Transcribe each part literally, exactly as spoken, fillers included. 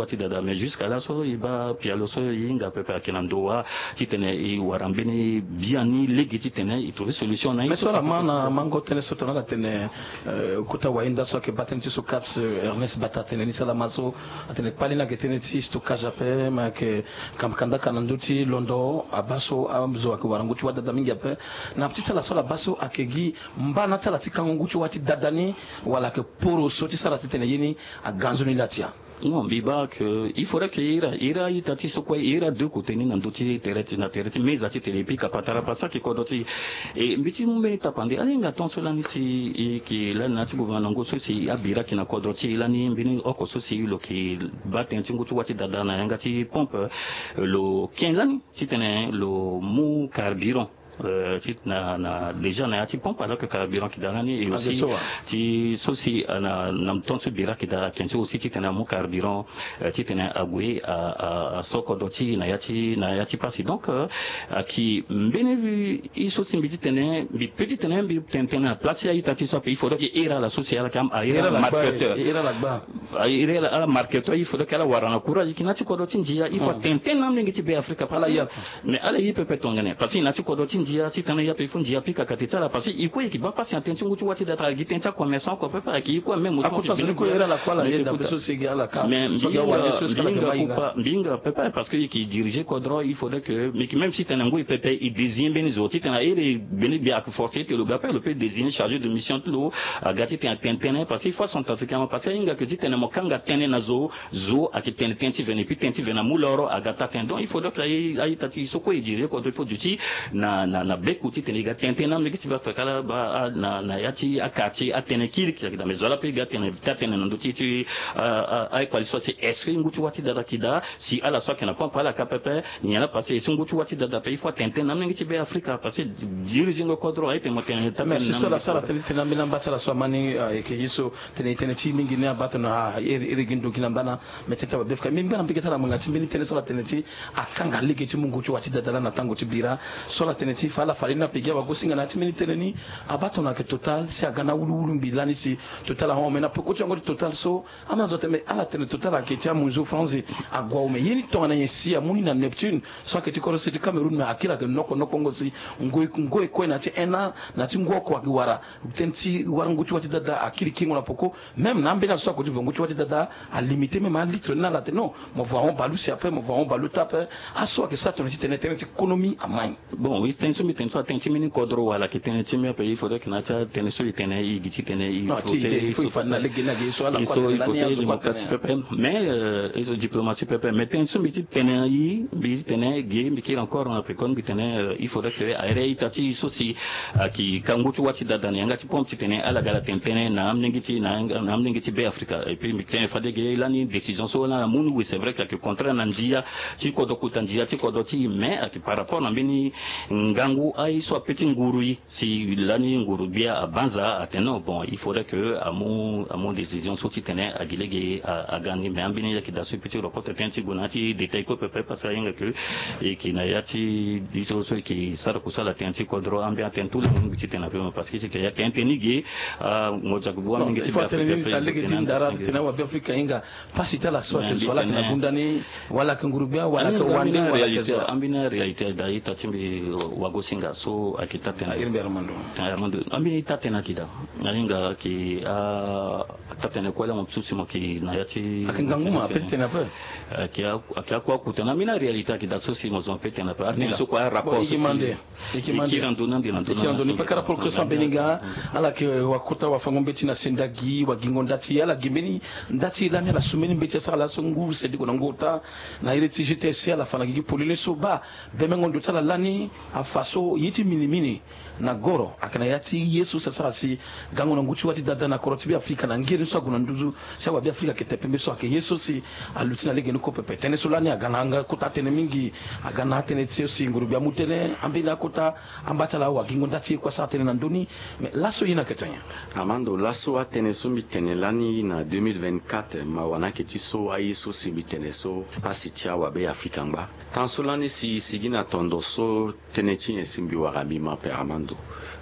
ti dada. Mais jusqu'à là so e baa pialo so e hinga pepe ayeke na ndo wa titene e wara mbeni biani lege titene e trouver solution na ye. Mais so ala ma na mango tënë so tongana ala tene, eh, kota wayenda so ayeke baa tënë ti so CAPS, eh, Ernest Bata atene ni si ala ma so, atene kpali ni ayeke tënë ti stockage ape, me ayeke kam kandaka na ndö ti londo abaa so azo ayeke wara ngu ti wa dada mingi ape. Na ti ti ala so ala baa so ayeke gi mbana ti ala ti kango ngu ti wa ti dada ni, wala ayeke poro so ti sara titene ye ni aga nzoni laa ti ya? Non, mbi baa que il faudrait que e iri, e iri a-ita ti so kue, e iri a-deux côté ni na ndö ti tere ti, na tere ti meza ti tene, et puis ka patara pasa ayeke kodro ti e. E mbi ti mu mbeni tapande, ahinga tongaso lani si e yeke lani na ya ti gouvernement na ngu so si abira ayeke na kodro ti e lani, mbeni oko so si lo yeke baa tënë ti ngu ti wa ti dada na yanga ti pompe, eh, lo ken lani titene lo mu carburant, euh, ti na, na, déjà na ya ti pompe, alors que carburant ayeke daa lani, et aussi ti so si, euh, na, na temps so bira ayeke daa, ayeke ti aussi titene amu carburant, euh, titene ague a, a, aso kodro ti e na ya ti, na ya ti pasi. Donc, euh, ayeke mbeni ye so si mbi titene, mbi peut titene mbi tene tënë na place ti a-ita ti so ape, il faudrait que e iri ala so si ala yeke, a iri ala marketeur. E iri ala gba. A iri ala, ala marketeur, il faudrait que ala wara na courage, e yeke na ya ti kodro ti ndia, il faut atene tënë na amolenge ti Be Afrika, parce que mais ala ye pepe tongana nyen? Parce que e na ya ti kodro ti ndia, titene e ya pe, il faut ndia pika kate ti ala, parce que e kue e yeke baa pasi na tënë ti ngu ti wa ti dada, ala gi tënë ti acommerçant oko pepe, ayeke e kue même. Akota zo ni kue e iri ala kue, ala yeda ape so si e gi ala ka. Mais mbi hinga, mbi hinga pepe, parce que e yeke dirige kodro, il faudrait que, mais que même si tene ngoi pepe e désigner mbeni zo, titene a iri mbeni gbia ayeke forcer ti lo ga ape, lo peut désigner chargé de mission ti lo, aga titene atene tënë, parce que il faut acentrafricain, parce que ahinga que titene mo kanga tënë na zo, zo ayeke tene tënë ti vene, et puis tënë ti vene amu loro aga taa tënë. Donc il faudrait que a-ita ti so kue e dirige kodro, il faut duti na, na, na beku titene e ga tene tënë na amolenge ti Be Afrika, ala baa na, na ya ti aquartier atënë kirikiri ayeke daa. Mais zo laa ape e ga tene taa tënë na ndö ti, ti, a, a, akpali so si est-ce que ngu ti wa ti dada ayeke daa, si ala so ayeke na pompe ala ka pepe, nyen laa, parce que si ngu ti wa ti dada ape il faut atene tënë na amolenge ti Be Afrika, parce que dirigengo kodro aye tene mo tene taa tënë na amolenge ti Be Afrika. Mais si so ala sara tënë ti tene na ambeni amba ti ala so amani, ah, ayeke ye so tene, tene ti mingi ni abaa tongana, ah, iri, iri gi ndo gi na mbana. Mais tënë ti awabe-afrika, mbi ngba na mbege ti ala ngbanga ti mbeni tënë so ala tene ti akanga lege ti mungo ti wa ti dada laa na tango ti bira. So ala tene ti fa ala fa lani ape gi awagosinga na ya ti mbeni tënë ni. Abaa tongana ayeke Total si aga na awuluwulu ngbi lani si Total ahon. Mais na peko ti yango ti Total so, ambeni azo atene, mais ala tene Total ayeke ti amunzu franzi ague awe. Mais ye ni tongana nyen si amu ni na Neptune so ayeke ti kodro sese ti Cameroun, mais akiri ayeke noko nokongo si ngoi, ngoi kue na ya ti un an, na ya ti ngu oko ayeke wara. Tënë ti wara ngu ti wa ti dada akiri kengo na peko. Même na ambeni azo so ako ti vo ngu ti wa ti dada alimité même alitre ni, ala tene non, mo vo ahon baleuse ape, mo vo ahon baleuse ape. Aso ayeke sara tongana ti tene tënë ti konomi amai. Bon, oui, tënë so mbi tene so atënë ti mbeni kodro wala ayeke tënë ti mbi ape, il faudrait que na ya ti atënë so e tene e gi titene e frotter, e frotter démocratie pepe. Mais, euh, e so diplomatie pepe. Mais tënë so mbi ti tene e, mbi ti tene ge, mbi kiri encore na peko, mbi tene, euh, il faudrait que a iri a-ita ti so si ayeke ka ngu ti wa ti dada na yanga ti pompe titene ala ga ala tene tënë na amolenge ti, na, na amolenge ti Be Afrika. Et puis mbi tene fade ge lani décision so lani amu ni, oui, c'est vrai que ayeke contraire na ndia ti kodro, kota ndia ti kodro ti e, mais ayeke par rapport na mbeni ngangu aye so ape ti nguru e. Si lani nguru gbia abanza atene non, bon, il faudrait que amu, amu décision so titene agi lege a, aga ni. Mais ambeni ye ayeke daa so e peut ti rokoto tënë ti gue na ya ti détail kue pepe, parce que ahinga que e yeke na ya ti ye so, so e yeke sara kusala tënë ti kodro, ambeni atënë tout le monde ti tene ape, parce que si e yeke ya tënë tënë ni ge, ah, mo zia gue bua mingi ti Be Afrika. Lege ti ndara titene awabe-afrika ahinga pasi ti ala so ayeke zo, ala yeke na gunda ni, wala ayeke nguru gbia, wala ayeke wande, wala ayeke zo. Ambeni réalité daa, ita ti mbi wagosinga so ayeke taa tënë. Ah, iri mbi Armando. Armando, ambeni taa tënë ayeke daa. Ahinga ayeke, ah, taa tënë kue laa mo susu mo yeke na ya ti. Ayeke ngangu ma ape ti tene ape. Ayeke, ayeke akua kutene. Ambeni réalité ayeke daa so si mo zo mo peut tene ape. Atënë so kue arapport so si. E kiri na ndo ni ande na ndo ni. E kiri na ndo ni, parce que rapport que so ambeni nga ala yeke wakota wafango mbeti na sendagi, wagingo nda ti e, ala gi mbeni nda ti e lani, ala su mbeni mbeti asara laso ngu sendiko na ngu ota. Na iri ti G T S C ala fa na gigi polele so baa bemengo ndo ti ala lani afa so ye ti minimini na goro ayeke na ya ti ye so si asara si gango na ngu ti wa ti dada na kodro ti Be Afrika na ngere ni so ague na nduzu. Si awabe-afrika ayeke te pembe so ayeke ye so si aluti na lege ni kue pepe. Tënë so lani aga na yanga kota tënë mingi, aga na atënë ti so si nguru gbia amu tënë, ambeni akota amba ti ala awagingo nda ti e kue asara tënë na ndö ni. Mais laso ye ni ayeke tongana nyen? Armando, laso atënë so mbi tene lani na deux mille vingt-quatre, mawa ni ayeke ti so aye so si mbi tene so pasi ti awabe-afrika angba. Tan so lani si e sigi na tondo so tënë ti nyen si mbi wara mbi ma ape Armando?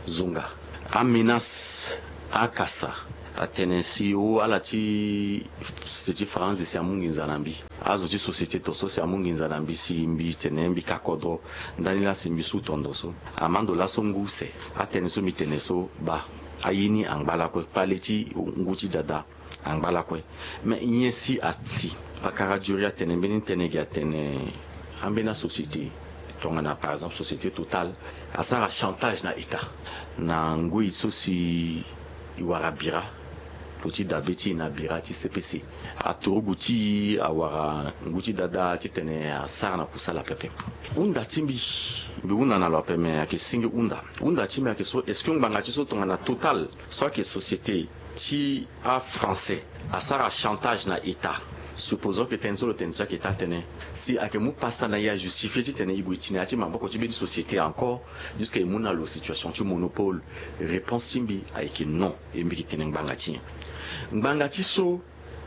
Zonga, amenace, akasa, Atene si o ala ti société faranzi si amu nginza na mbi. Azo ti société to so si amu nginza na mbi si mbi tene mbi ka kodro. Ndani laa si mbi su tondo so. Amando laso ngu use. Atënë so mbi tene so baa, aye ni angba lakue. Kpale ti ngu ti dada angba lakue. Me nyen si asi? Pakara Djouri atene mbeni tënë gi atene ambeni asociété tongana par exemple société Total asara chantage na État na ngoi so si e wara bira. Lo ti dabe ti e na bira ti C P C. Aturugu ti e awara ngu ti dada titene asara na kusala pepe. Hunda ti mbi, mbi hunda na lo ape me ayeke singi hunda. Hunda ti mbi ayeke so, est-ce que ngbanga ti so tongana Total so ayeke société ti afrançais asara chantage na État? Supposons que tënë so lo tene so ayeke taa tënë, si ayeke mu pasa na e ajustifie titene e gue ti na ya ti maboko ti mbeni société encore jusqu'à e mu na lo situation ti monopole? Réponse ti mbi ayeke non. E mbi yeke tene ngbanga ti nyen? Ngbanga ti so,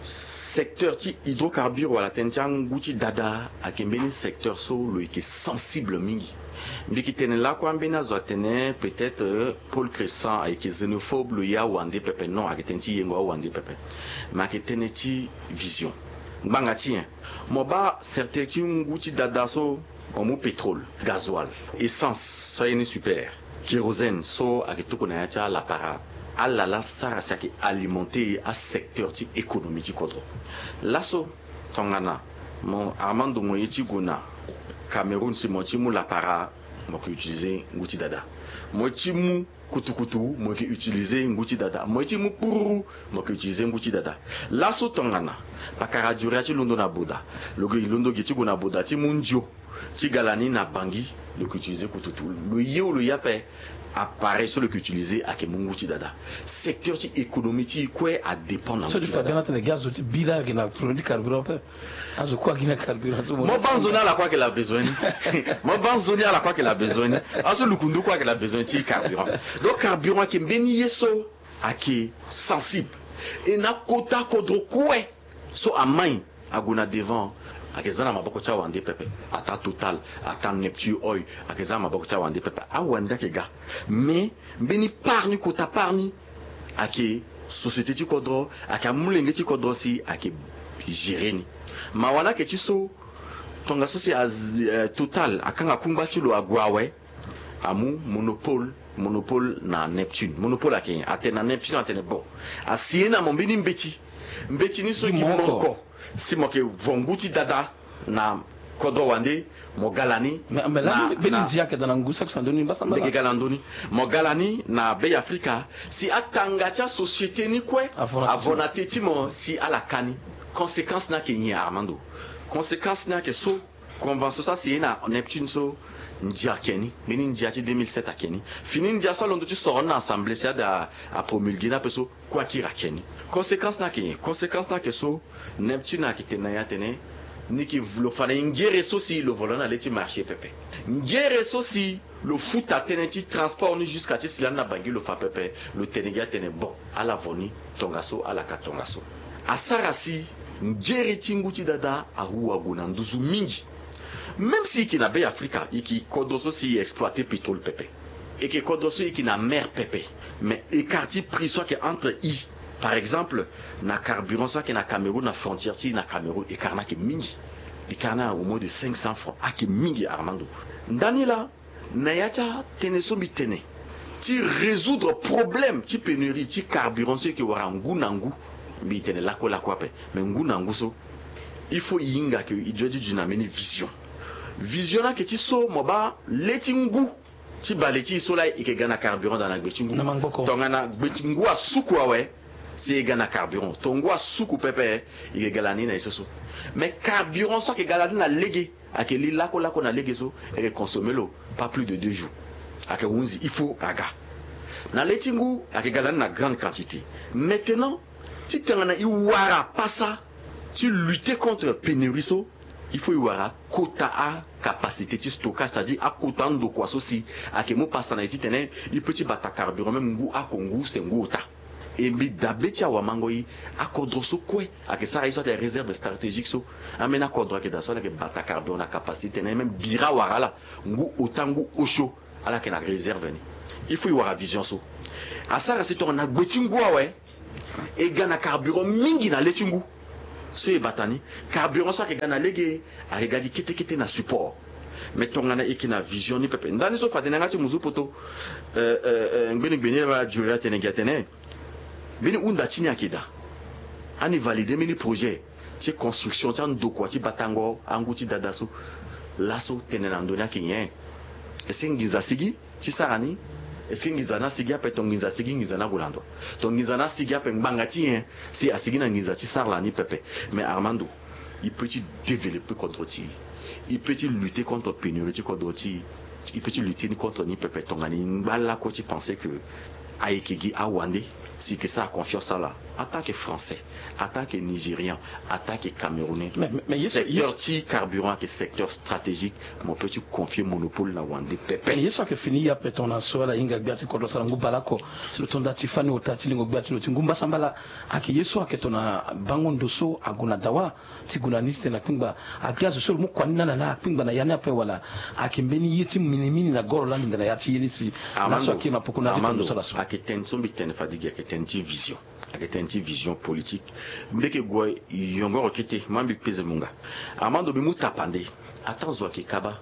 secteur ti hydrocarbure wala tënë ti angu ti dada ayeke mbeni secteur so lo yeke sensible mingi. Mbi yeke tene lakue ambeni azo atene peut-être, euh, Paul Crescent ayeke xénophobe, lo ye awande pepe. Non, ayeke tënë ti yengo awande pepe. Me ayeke tënë ti vision. Ngbanga ti nyen? Mo baa certain ti ngu ti dada so, mo mu pétrole, gasoil, essence so aye ni super, kérosène so ayeke tuku na ya ti alapara. Ala laa sara si ayeke alimenté asecteur ti économie ti kodro. Laso tongana mo Armando mo ye ti gue na Cameroun si mo ti mu lapara, mo yeke utiliser ngu ti dada. Mo ti mu kutukutu, mo yeke utiliser ngu ti dada. Mo ye ti mu kpururu, mo yeke utiliser ngu ti dada. Laso tongana pakara Djouri ti londo na Boda, lo yeke londo ge ti gue na Boda ti mu ndio ti ga lani na Bangui, lo yeke utiliser kututu. Lo ye ou lo ye ape, appareil so lo yeke utiliser ayeke mu ngu ti dada. Secteur ti économie ti e kue adépend na ngu ti dada. So ti fa bien atene gi azo ti bi laa ayeke na problème ti carburant ape. Azo kue agi na carburant so. Mo baa nzoni ala kue ayeke na besoin ni. Mo baa nzoni ala kue ayeke na besoin ni. Aso lukundu kue ayeke na besoin ti carburant. Donc carburant ayeke mbeni ye so ayeke sensible. E na kota kodro kue so amai ague na devant, ayeke za na maboko ti awande pepe. Ataa Total, ataa Neptune Oil, ayeke za na maboko ti awande pepe. Awande ayeke ga. Mais mbeni part ni, kota part ni, ayeke société ti kodro, ayeke amolenge ti kodro si ayeke gérer ni. Mawa ni ayeke ti so, tongaso si a, eh, Total akanga kungba ti lo ague awe, amu monopole, monopole na Neptune. Monopole ayeke nyen? Atene na Neptune atene bon, asi ye na mo mbeni mbeti. Mbeti ni so gi mo oko, si mo yeke vo ngu ti dada na kodro wande, mo ga lani. Mais, mais na, lani mbeni na ndia ayeke daa na ngu saki sandoni mbasambala. Mbi yeke ga na ndö ni. Mo ga lani na Bêafrika si atanga ti asociété ni kue avo na te ti mo si ala ka ni. Conséquence ni ayeke nyen, Armando? Conséquence ni ayeke so, convention so asi ye na Neptune so, ndia ake ni. Mbeni ndia ti deux mille sept ake ni. Fini ndia so alondo ti soro ni na assemblée si ada apromulgué ni ape so, kue akiri ake ni. Conséquence ni ayeke nyen? Conséquence ni ayeke so, Neptune ayeke tene na e atene ni yeke, lo fa na e ngere so si lo vo lo na le ti marché pepe. Ngere so si lo futa tënë ti transport ni jusqu'à ti si lani na Bangui, lo fa pepe. Lo tene gi atene bon, ala vo ni tongaso, ala ka tongaso. Asara si ngere ti ngu ti dada ahu ague na nduzu mingi. Même si e yeke na Bêafrika, e yeke kodro so si e exploiter pétrole pepe. E yeke kodro so e yeke na mer pepe. Mais écart ti prix so ayeke entre e, par exemple, na carburant so ayeke na Cameroun, na frontière ti e na Cameroun, écart ni ayeke mingi. Écart ni au moins de cinq cents francs, ayeke mingi, Armando. Ndani laa, na ya ti atënë so mbi tene ti résoudre problème ti pénurie ti carburant so e yeke wara ngu na ngu. Mbi tene lakue lakue ape, mais ngu na ngu so, il faut e hinga ke e doit ti duti na mbeni vision. Vision ni ayeke ti so, mo baa le ti ngu ti bale ti e so laa e yeke ga na carburant daa na gbe ti ngu. Na maboko. Tongana gbe ti ngu asuku awe, si e ga na carburant. Tongana ngu asuku pepe, e yeke ga lani na e so so. Mais carburant so ayeke ga lani na lege, ayeke li lakue lakue na lege so, e yeke consommer lo pas plus de deux jours. Ayeke hunzi, il faut aga. Na le ti ngu ayeke ga lani na grande quantité. Maintenant, titene e wara pasa ti lutter contre pénurie so, il faut e wara kota acapacité ti stockage, c'est-à-dire akota andokua so si ayeke mu pasa na e titene e peut ti bata carburant même ngu oko, ngu use, ngu ota. E mbi dabe ti awamango e, akodro so kue ayeke sara ye so atene réserve stratégique so. Ambeni akodro ayeke daa so ala yeke bata carburant na capacité titene même bira awara ala ngu ota, ngu osio, ala yeke na réserve ni. Il faut e wara vision so. Asara si tongana gbe ti ngu awe, E ga na carburant mingi na le ti ngu. So e bata ni, carburant so ayeke ga na lege, ayeke ga gi kete kete na support. Mais tongana e yeke na vision ni pepe, ndani so fade na yanga ti muzu poto. Euh, euh, euh, ngbeni gbeni ala Dioria atene gi atene, mbeni hunda ti ni ayeke daa. Ani valide mbeni projet ti construction ti andokua ti batango angu ti dada so. Laso tene na ndo ni ayeke nyen? Est-ce que nginza asigi ti sara ni? Est-ce que nginza ni asigi ape? To nginza asigi, nginza ni ague na ndo. To nginza ni asigi ape, ngbanga ti nyen? Si asigi na nginza ti sara ni pepe. Mais Armando, e peut ti développer kodro ti e. E peut ti lutter contre pénurie ti kodro ti e. E peut ti lutter ni contre ni pepe tongana e ngba lakue ti penser que ayeke gi awande si e yeke sara confiance ala. Attaque français, attaque nigérian, attaque camerounais. Mais, mais, mais ye so, ye so, secteur ti carburant ayeke secteur stratégique. Mo peut ti confier monopole na wande pepe. Mais ye so ayeke fini ye ape tongana so ala hinga gbia ti kodro asara ngu bale oko. Si lo to nda ti fani ota ti lingo gbia ti lo ti ngu mbasambala. Ayeke ye so ayeke tongana bango ndo so ague na dawa ti gue na ni titene akpingba. Ake azo so lo mu kua ni na ala laa akpingba na ya ni ape wala ayeke mbeni ye ti minimini na goro laa linda na ya ti ye ni si laso akiri na poko na ya ti tene so laso. Ayeke tene so mbi tene fade gi ayeke tene ti vision. Ayeke tene ti vision politique. Mbi yeke gue yongoro kete, ma mbi peze munga. Armando, mbi mu tapande. Ataa zo ayeke kaba.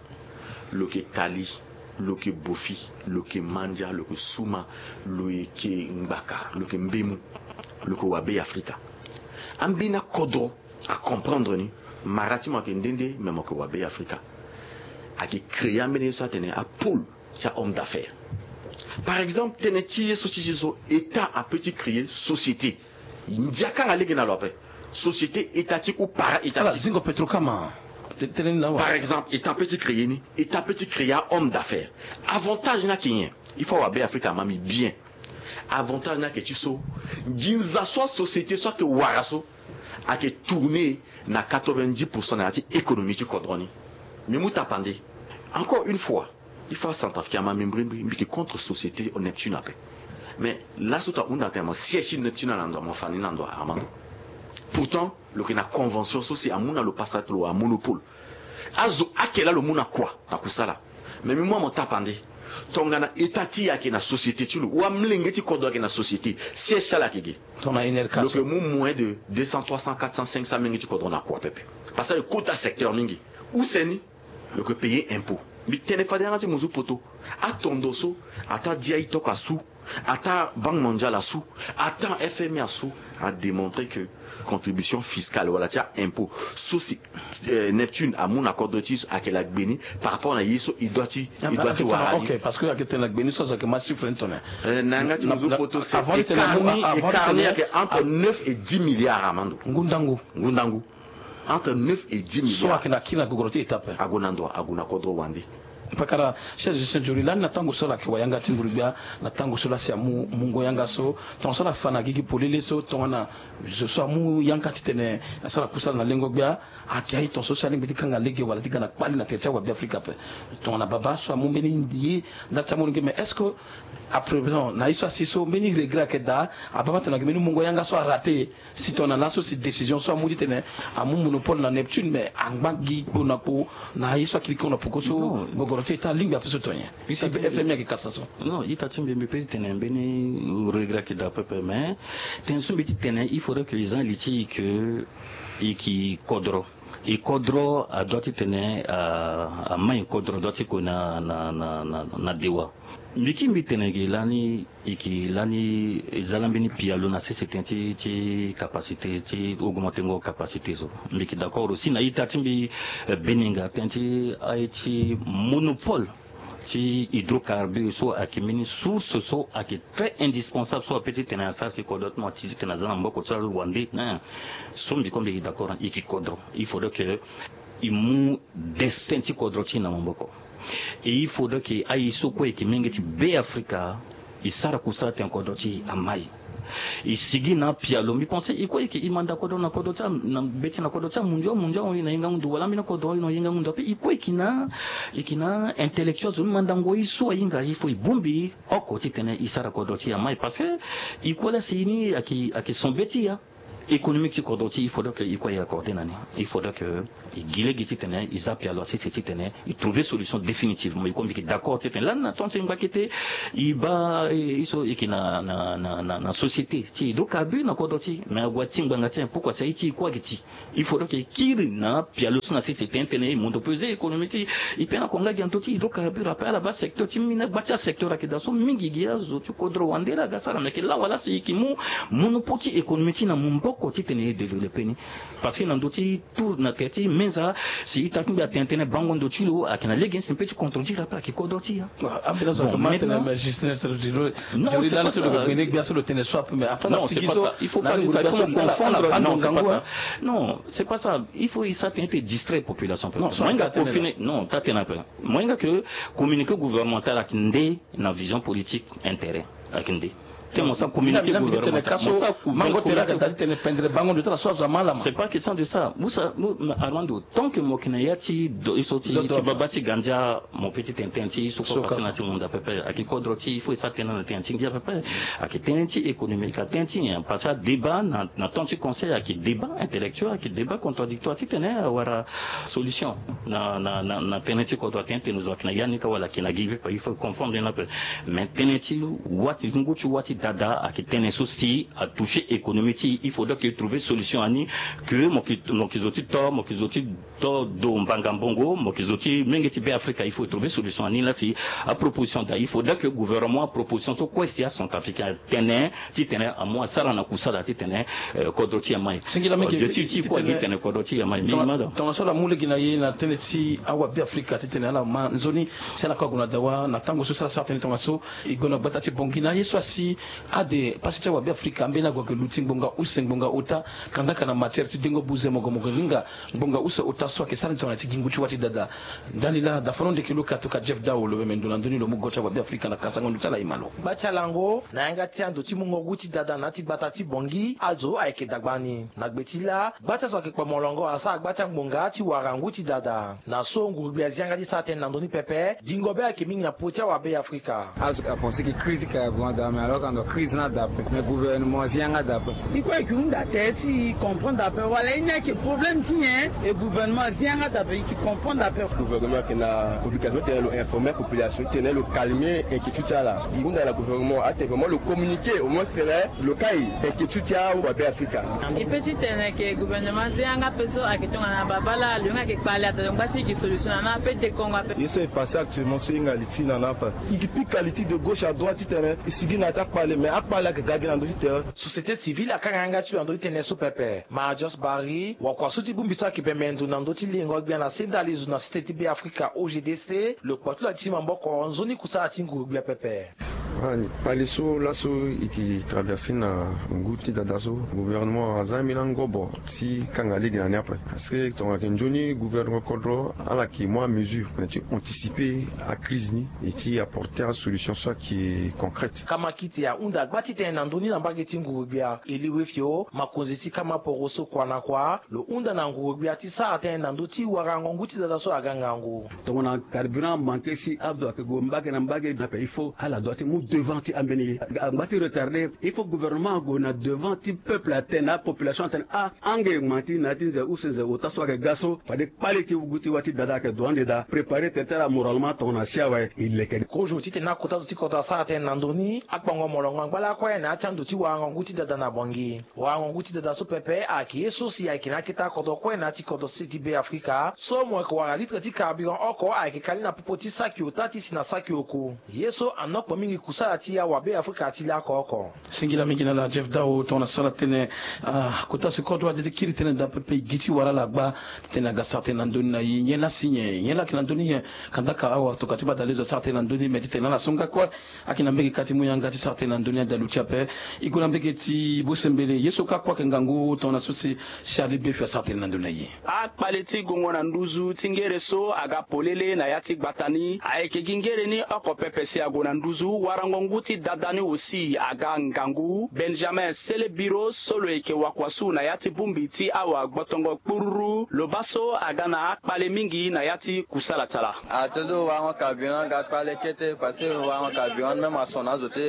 Lo yeke tali, lo yeke bofi, lo yeke mandia, lo yeke suma, lo yeke ngbaka, lo yeke mbemu, lo yeke wa Be Afrika. Ambeni akodro acomprendre ni. Mara ti mo ayeke nde nde, me mo yeke wa Be Afrika. Ayeke créer ambeni ye so atene apôle ti ahomme d'affaires. Par exemple, tënë ti ye so ti ye so, État apeut ti créer société. Ndia kanga lege na lo ape. Société étatique ou para-étatique. Zingo Petrocam. Par exemple, État apeut ti créer ni, État apeut ti créer ahomme d'affaires. Avantage ni ayeke nyen? Il faut awa Be Afrika ama mbi bien. Avantage ni ayeke ti so, nginza so asociété so ayeke wara so ayeke tourner na quatre-vingt-dix pour cent na ya ti économie ti kodro ni. Mbi mu tapande. Encore une fois, il faut acentrafricain ama mbi mbrimbri, mbi yeke contre société Neptune ape. Mais laso ta hunda tene mo siège ti Neptune ala na ndo, mo fa ni na ndo, Armando. Pourtant lo yeke na convention so si amu na lo pasa ti lo wa monopole. Azo ake laa lo mu na kua na kusala. Mais mbi mu amo tapande. Tongana État ti e ayeke na société ti lo, ou amolenge ti kodro ayeke na société, siège ti ala ayeke ge. Tongana Enerca so, lo yeke mu moins de deux cents, trois cents, quatre cents, cinq cents menge ti kodro na kua pepe. Parce que lo kota secteur mingi. Use ni, lo yeke payer impôt. Mbi tene fade yanga ti muzu poto. Atondo so, ataa D I toko asu, ataa Banque mondiale asu, ataa F M I asu, a démontrer que contribution fiscale wala ti a-impôt so si, euh, Neptune amu na kodro ti e so ayeke la gbe ni par rapport na ye so e doit ti, e doit ti wara ni. Ok, parce que ayeke tene la gbe ni so azo ayeke ma chiffre ni tongana, euh, na yanga ti muzu poto, c'est écart ni, écart ni ayeke entre neuf et dix milliards, Armando. Ngu ndangu. Ngu ndangu. Entre neuf et dix milliards. So ayeke na kiri na gogoro ti État ape. Ague na ndo, ague na kodro wande. Pakara, chef de gestion Diouri lani na tango so ala yeke wa yanga ti nguru-gbia, na tango so laa si amu mungo yanga so, tongaso ala fa na gigi polele so, tongana zo so amu yanga titene asara kusala na lengo-gbia, ayeke aye tongaso si alingbi ti kanga lege wala ti ga na kpali na tere ti awabe Afrika ape. Tongana babâ so amu mbeni ye nda ti amolenge, mais est-ce que à présent na ye so asi so mbeni regret ayeke daa? Ababa tene ayeke mbeni mungo yanga so araté. Si tongana laso si décision so amu titene amu monopole na Neptune, mais angba gi kpo na kpo na ye so akiri kiri na poko so. Non. Gogoro ti État alingbi ape so tongana nyen? Si F M I ayeke kasa so. Non, ita ti mbi, mbi peut ti tene mbeni regret ayeke daa pepe, mais tënë so mbi ti tene, il faudrait que e zia li ti e que e yeke kodro. E kodro adoit titene, ah, amai kodro adoit ti kue na, na, na, na, na dewa. Mbi kiri mbi tene ge lani, e yeke lani e za laa mbeni pialo na sese tënë ti, ti capacité, ti augmentengo capacité so. Mbi yeke d'accord aussi na ita ti mbi, eh, Beninga, tënë ti aye ti monopole ti hydrocarbure so ayeke mbeni source so ayeke très indispensable so apeut ti tene asara si kodro ti mo ti tene aza na maboko ti awande, hein. So mbi kue mbi yeke d'accord, e yeke kodro. Il faudrait que e mu destin ti kodro ti e na maboko. Et il faudrait que aye so kue e yeke menge ti Be Afrika, e sara kusala tene kodro ti e amai. E sigi na apialo, mbi pense e kue e yeke, e manda kodro na kodro ti a, na be ti na kodro ti amundio, amundio ahon e na hingango ndo, wala ambeni akodro ahon e na hingango ndo ape. E kue e yeke na, e yeke na intellectuel, zo ni mandango ye so ahinga, il faut e bongbi oko titene e sara kodro ti e amai. Parce que e kue laa si ni ayeke, ayeke son be ti e ya. Économique ti kodro ti, il faudrait que i kue i accordé na ni. Il faudrait que i gi lege titene i za pialo asese titene i trouver solution définitivement. I kombi ke d'accord titene lani na temps ti ngba kete i baa i so i ke na na na na société ti hydrocarbure na kodro ti, mais ague ti ngbanga ti pourquoi ça i ti i kue ake ti. Il faudrait que i kiri na pialo so na sese tene titene i mondo peser économie ti i. Pe na konga gi na ndö ti hydrocarbure ape ala baa secteur ti mine gba ti asecteur ake daa so mingi gi azo ti kodro wande laa aga sara na yeke lawa laa si i ke mu monopole ti économie ti i na maboko titene i développer ni. Parce que na ndö ti tout na tere ti meza si i ta kingbi atene tënë bango ndo ti lo ayeke na lege ni si mpe ti contredire ape ayeke kodro ti ya. Ambeni azo ayeke ma tene mais juste neti lo di lo. Non, c'est pas ça. Lo yeke gue ni gbia so lo tene so ape mais après na sigi so. Il faut pas dire ça, il faut confondre. Non, c'est pas ça. Il faut i sara tënë ti distrait population ape. Moyen nga confiner non ta tene ape. Moyen nga ke communiqué gouvernemental ayeke nde na vision politique intérêt ayeke nde. Te mo sa communiqué gouvernemental mo sa couvert. Mango tene ayeke dali tene pendere bango ndo ti ala so azo ama ala ma. C'est pas question de ça. Armando, tant que mo yeke na ya ti do i so ti baba ti gandia mo pe ti tene tënë ti i so kue pase na ti munda pepe ayeke kodro ti i. Il faut i sa tënë na tënë ti ngia pepe. Ayeke tënë ti économique ayeke tënë ti nyen parce que adébat na temps ti conseil ayeke débat intellectuel ayeke débat contradictoire titene awara solution na na na tënë ti kodro atene tene zo ayeke na ya ni ka wala ayeke na gi pepe il faut confondre ni ape. Mais tënë ti wâ ti ngu ti wâ ti dada ayeke tënë so si atoucher économie ti i il faudrait que trouver solution ani. Que mo yeke zo ti to mo yeke zo ti to do mbanga mbongo mo yeke zo ti menge ti be africa il faut trouver solution ani laa si aproposition daa il faudrait que gouvernement aproposition so kue si acentrafricain atene titene amu asara na kusala titene kodro ti ya mai. Singila mingi. Ti ti kue gi tene kodro ti ya mai mingi mada. Tongaso ala mu lege na ye na tënë ti awabe afrika titene ala ma nzoni si ala kue ague na dawa na tango so si ala sara tënë tongaso. E gue na gbata ti bongi na ye so asi ade pasi ti awabe afrika ambeni ague ayeke luti ngbonga use ngbonga ota kandaka na matière ti dengo buze mogo mogo nginga. Ngbonga use ota so ayeke sara ni tongana ti gi ngu ti wâ ti dada. Ndani laa dafono ndeke lo ka toka jeff dao lo meme ndo na ndö ni lo mu go ti awabe afrika na kasango ndo ti ala e ma lo. Gba ti alango na yanga ti ando ti mungo ngu ti dada na ya ti gbata ti bongi azo ayeke dagba ni na gbe ti laa gba ti azo ayeke kpo molongo asara gba ti angbonga ti wara ngu ti dada. Na so ngurugbi azi yanga ti sara tënë na ndö ni pepe. Dingo be ayeke mingi na popo ti awabe ya afrika. Azo apense ke crise ka ya gue anda mais alors ka ndo crise ni ada ape mais gouvernement azi yanga ada ape. I kue ayeke hunda tere ti i comprendre ape wala i ni ayeke problème ti nyen? E gouvernement azi yanga ada ape i yeke comprendre ape. Gouvernement ayeke na obligation titene lo informer population titene lo calmer inquiétude ti ala. I hunda na gouvernement atene vraiment lo communiquer au moins titene lo kai inquiétude ti awabe afrika. E pe titene ke gouvernement azi yanga ape so ayeke tongana babala lo yanga ayeke kpale ada lo ngba ti gi solution na na ape dekongo ape. Ye so e passe actuellement so e hinga li ti na na ape. E ke pika li ti de gauche à droite titene e sigi na ya ti akpale mais akpale ayeke ga gi na ndö ti tere. Société civile akanga yanga ti lo na ndö ti tënë so pepe. Marius barry wakua so ti bongbi so ayeke bembe ndo na ndö ti lengo gbia na se ndali zo na site ti be afrika ogdc lo kpo ti lo ati ti maboko nzoni kusala ti nguru gbia pepe. Kpale so laso e ke traverse na ngu ti dada so gouvernement aza ambeni angobo ti kanga lege na ni ape. Parce que tongana yeke nzoni gouvernement kodro ala yeke mu amesure na ti anticiper acrise ni e ti apporter asolution so ayeke concrète. Kamakite ahunda gba ti tene na ndö ni na mbage ti nguru gbia eli wefio makonzi ti kama poro so kua na kua lo hunda na nguru gbia ti sara tënë na ndö ti warango ngu ti dada so aga ngangu. Tongana carburant amanke si azo ayeke gue mbage na mbage na pe il faut ala doit ti mu devant ti ambeni ye. Angba ti retarder il faut gouvernement ague na devant ti peuple atene na apopulation atene ah ange ma ti na ya ti nze use nze ota so ayeke ga so fade kpale ti wugu ti wâ ti dada ayeke do ande daa préparer tere ti ala moralement tongana si awe e leke. Kozo titene akota zo ti kodro asara tënë na ndö ni akpango molongo angba lakue na ya ti ando ti warango ngu ti dada na bongi. Warango ngu ti dada so pepe ayeke ye so si ayeke na akete akodro kue na ya ti kodro sese ti be afrika so mo yeke wara litre ti carburant oko ayeke kali na popo ti saki ota ti si na saki oku. Ye so anokpo mingi kusala ti awabe afrika ti laoko oko. Singila mingi na ala jeff dao tongana so ala tene. Kota si kodro ade ti kiri tënë daa pepe e gi ti wara ala gba titene aga sara tënë na ndö ni na ye nyen laa si nyen nyen laa ayeke na ndö ni nyen? Kandaka awa tokua ti badalezo asara tënë na ndö ni me titene ala so nga kue ayeke na mbege ka ti mu yanga ti sara tënë na ndö ni ade aluti ape. E gue na mbege ti bosembele ye so ka kue ayeke ngangu tongana so si charlie befio asara tënë na ndö ni na ye. Akpale ti gongo na nduzu ti ngere so aga polele na ya ti gbata ni ayeke gi ngere ni oko pepe si ague na nduzu wara Ngu ti dada ni aussi aga ngangu. Benjamin Sele Biro so lo yeke wakua su na ya ti bongbi ti awa gbotongo kpururu, lo baa so aga na akpale mingi na ya ti kusala ti ala. Ah, ti lo warango carburant aga kpale kete, parce que warango carburant ni même ason na azo ti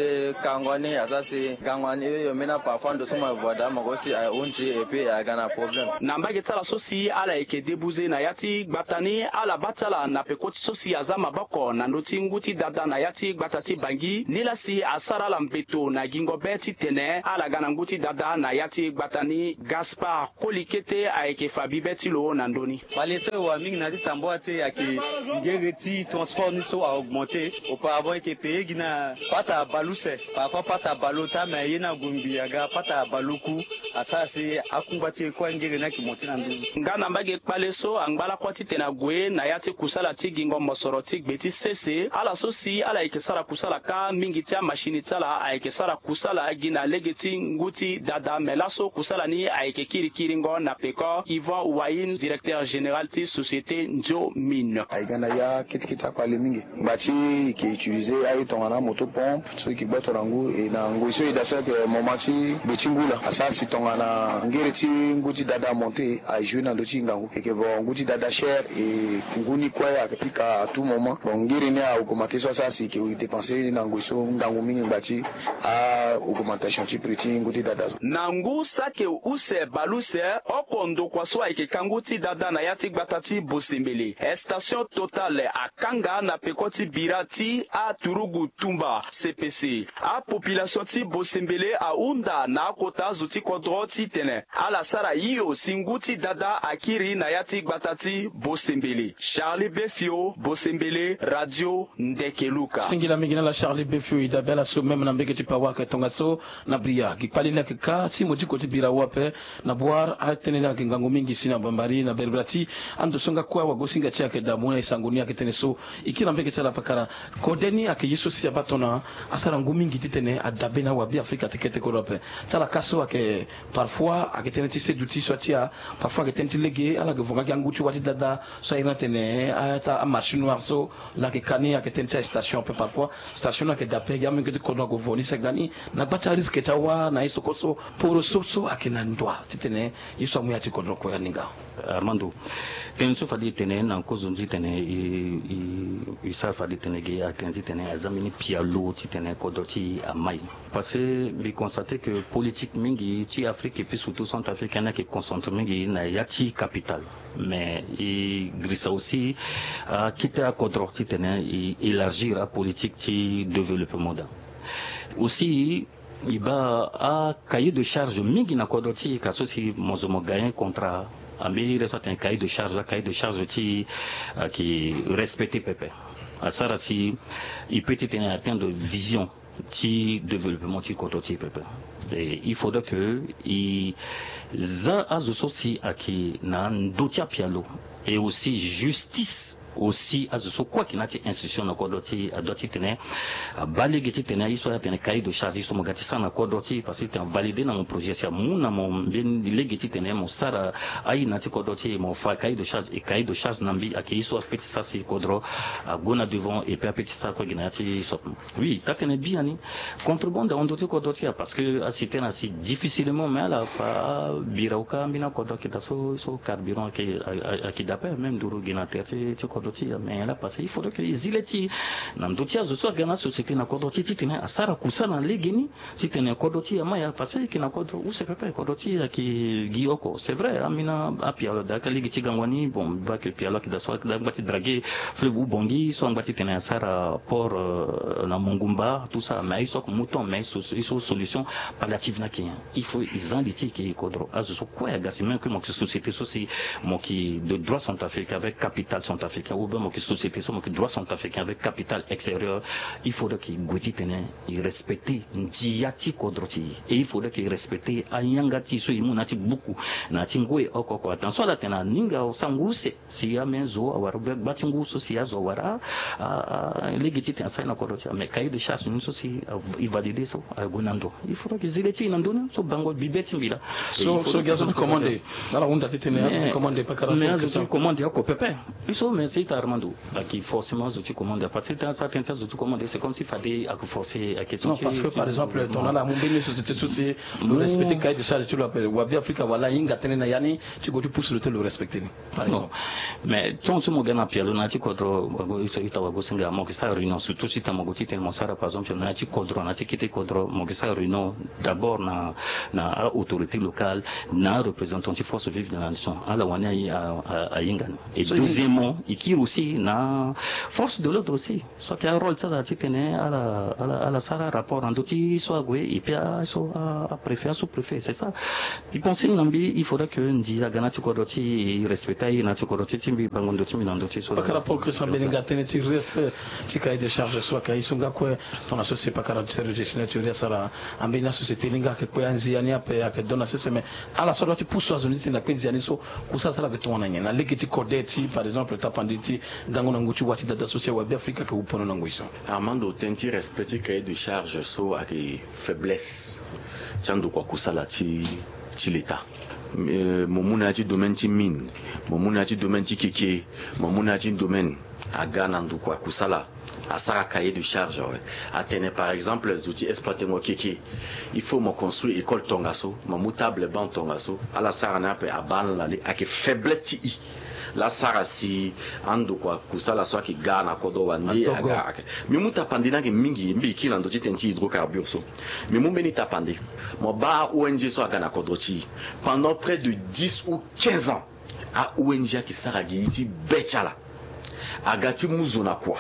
kango ni, asara si gango ni, eh, yo mbeni parfois ndo so mo yeke voie daa mo ko si ahunzi et puis aga na problème. Na mbage ti ala so si ala yeke débouze na ya ti gbata ni, ala baa ti ala na peko ti so si aza maboko na ndö ti ngu ti dada na ya ti gbata ti Bangui, nilaa si asara ala mbeto na gingo be titene ala ga na ngu ti dada na ya ti gbata ni. Gaspard Koli Kete ayeke fa bibe ti lo na ndö ni. Kpale so e wa mingi na ya ti tambua ti e ayeke ngere ti transport ni so a augmenter. Auparavant e yeke payer gi na pata bale use, parfois pata bale ota, mais ye ni ague ngbii aga pata bale oku. Asara si akungba ti e kue angere ni ayeke monter na ndö ni. Nga na mbage kpale so angba lakue titene ague na ya ti kusala ti gingo mosoro ti gbe ti sese, ala so si ala yeke sara kusala kâ mingi ti amachine ti ala ayeke sara kusala gi na lege ti ngu ti dada, me laso kusala ni ayeke kirikiringo na peko Yvan Wayne, directeur général ti société Ndio Mine. Ayeke na ya kete kete akpale mingi. Ngba ti e yeke utiliser aye tongana amoto pompe so e yeke gboto na ngu, e na ngoi so e daa so ayeke moment ti gbe ti ngu laa. Asara si tongana ngere ti ngu ti dada amonter, a jouer na ndö ti e ngangu. E yeke vo ngu ti dada cher, e ngu ni kue ayeke pika à tout moment. Bon, ngere ni a augmenter so asara si e yeke dépenser na ngoi so ngangu mingi ngba ti a augmentation ti prix ti ngu ti dada so. Na ngu saki use bale use, oko ndokua so ayeke ka ngu ti dada na ya ti gbata ti Bosembele, station Total akanga na peko ti bira ti aturugu tumba, C P C. Apopulation ti Bosembele ahunda na akota azo ti kodro titene ala sara hio si ngu ti dada akiri na ya ti gbata ti Bosembele. Charlie Befio, Bosembele, Radio Ndeke Luka. Singila mingi na ala Charlie Befio, e dabe ala so même na mbege ti Pawak tongaso. Na Bria, gi kpale ni ayeke ka ti modiko ti bira awe ape. Na Bouar, atënë ni ayeke ngangu mingi si na Bambari, na Berbera ti ando so nga kue awagosinga ti e ayeke daa mu na e sango ni ayeke tënë so. E kiri na mbege ti ala pakara. Kode ni ayeke ye so si abaa tongana asara ngu mingi titene adabe na awabe Afrika ti kete kodro ape. Ti ala ka so ayeke parfois ayeke tënë ti seduti so atia. Parfois ayeke tënë ti lege, ala yeke vo nga gi angu ti wa ti dada so a iri ni atene, eh, ata amarché noir so. Laa ayeke ka ni ayeke tënë ti astation ape parfois. Station ni ayeke daa ape, gi amungo ti kodro ague vo ni sega ni na gba ti arisque ti awa na ye so kue so. Poro so so ayeke na ndoa titene ye so amu ya ti kodro kue aninga. Armando, tënë so fade e tene na kozo ni titene e, e, e sara fade e tene ge ayeke titene aza mbeni pialo titene kodro ti e amai. Parce que mbi constate que politique mingi ti Afrique et puis surtout Centrafrique ni ayeke concentré mingi na ya ti capitale. Mais e girisa aussi akete akodro titene e élargir apolitique ti développement daa. Aussi e baa acahier de charge mingi na kodro ti e, ka so si mo zo mo gagner contrat, ambeni iri so atene cahier de charge, acahier de charge ti e ayeke respecté pepe. Asara si e peut titene atteindre vision ti développement ti kodro ti e pepe. Et il faudrait que e za azo so si ayeke na ndö ti apialo, et aussi justice aussi, azo so kue ayeke na ya ti institution na kodro ti e adoit titene abaa lege titene aye so atene cahier de charge, ye so mo ga ti sara na kodro ti e, parce que titene avalider na mo projet si amu na mo mbeni lege titene mo sara aye na ya ti kodro ti e, mo fa cahier de charge, et cahier de charge na mbi ayeke ye so apeut ti sara si kodro ague na devant, et puis apeut ti sara kue gi na ya ti so. Oui, taa tene biani. Contrebande ahon ndö ti kodro ti e, parce que asi tene asi difficilement, mais ala fa bira oka ambeni akodro ayeke daa so, so carburant ayeke, a, a, ayeke daa ape, même nduru gi na tere ti, ti kodro ti e. Mais laa parce que il faudrait que e zi le ti e na ndö ti azo so aga na asociété na kodro ti e titene asara kusala na legeni titene kodro ti e amai ya, parce que e yeke na kodro use pepe, kodro ti e ayeke gi oko. C'est vrai, ambeni apialo daa ka lege ti gango ni, bon, mbi baa que pialo ayeke daa so, ayeke daa angba ti draguer fleuve Oubangui so angba titene asara port, euh, na Mongumba, tout ça, mais aye so ake mu temps, mais aye so, aye so solution palliative ni ake nyen? Il faut e za li ti e ke kodro. Azo so kue aga si même que mo yeke société so si mo yeke de droit centrafricain avec capital centrafricain, ou bien mo yeke société so mo yeke droit centrafricain avec capital extérieur, il faudrait que e gue titene e respecter ndia ti kodro ti e, et il faudrait que e respecter ayanga ti e so e mu na ya ti buku, na ya ti ngoi oko oko. Attention, ala tene aninga asara ngu use. Si ambeni zo awara, ou bien gba ti ngu so si azo awara, a, a, lege titene asara ye na kodro ti e. Mais cahier de charge ni so si a, e valider so ague na ndo. Il faudrait que e zi le ti e na ndö ni so bango bibe ti mbi laa. So, so gi azo ti commande. Ala hunda titene azo ti commande pakara. Mais azo ti commande oko pepe. So mais Armando, ayeke forcément zo ti commande, parce que tënë ti azo ti commande, c'est comme si fade ayeke forcé, ayeke. Non, parce que par exemple tongana ala mu mbeni société so si lo respecté cahier de charge ti lo ape, wa Bêafrika wala ahinga tënë na ya ni ti gue ti pousse lo ti lo respecté ni, par exemple. Mais tongaso mo ga na pialo na ya ti kodro, ita wagosinga, mo yeke sara réunion, surtout si ta mo gue ti tene mo sara par exemple na ya ti kodro, na ya ti kete kodro, mo yeke sara réunion d'abord na na aautorité locale, na areprésentant ti force vive de la nation, ala wani ahinga ni. Et deuxièmement, e kiri aussi na force de l'ordre aussi, so ayeke arôle ti ala titene ala ala ala sara rapport na ndö ti so ague, et puis aso apréfet, asous-préfet, c'est ça. E pensé na mbi, il faudrait que nzi aga na ti kodro ti e, e respecté aye na ti kodro ti e, ti mbi bango ndö ti mbi na ndö ti so. Pakara Paul Christian Beninga, tënë ti respect ti cahier de charge so ayeke aye so nga kue. Tongana so si pakara ti service de signature asara ambeni asociété ni nga ayeke kpe anzia ni ape ayeke dona sese, mais ala so adua ti pusu azo ni ti tene akpe nzia ni so kusala ti ala ayeke tongana nyen na lege ti kode ti par exemple tapande ti gango na ngu ti wa ti dada so si awa Bêafrika ayeke wu pono na ngoi so. Armando, tënë ti respect ti cahier de charge so ayeke faiblesse ti andokua kusala ti ti l'état. Mo mu na ya ti domaine ti mine, mo mu na ya ti domaine ti keke, mo mu na ya ti domaine, aga na ndokua kusala, asara cahier de charge awe. Atene par exemple zo ti exploitengo keke, il faut mo construire école tongaso, mo mu table banc tongaso, ala sara ni ape, abaa na lali, ayeke faiblesse ti e. Laa sara si andokua kusala so ayeke ga na kodro wande aga. Mbi mu tapande ni ayeke mingi, mbi kiri na ndö ti tënë ti hydrocarbure so. Mbi mu mbeni tapande. Mo baa a-ong so aga na kodro ti e pendant près de dix ou quinze ans. A-ong ayeke sara gi ye ti be ti ala. Aga ti mu zo na kua.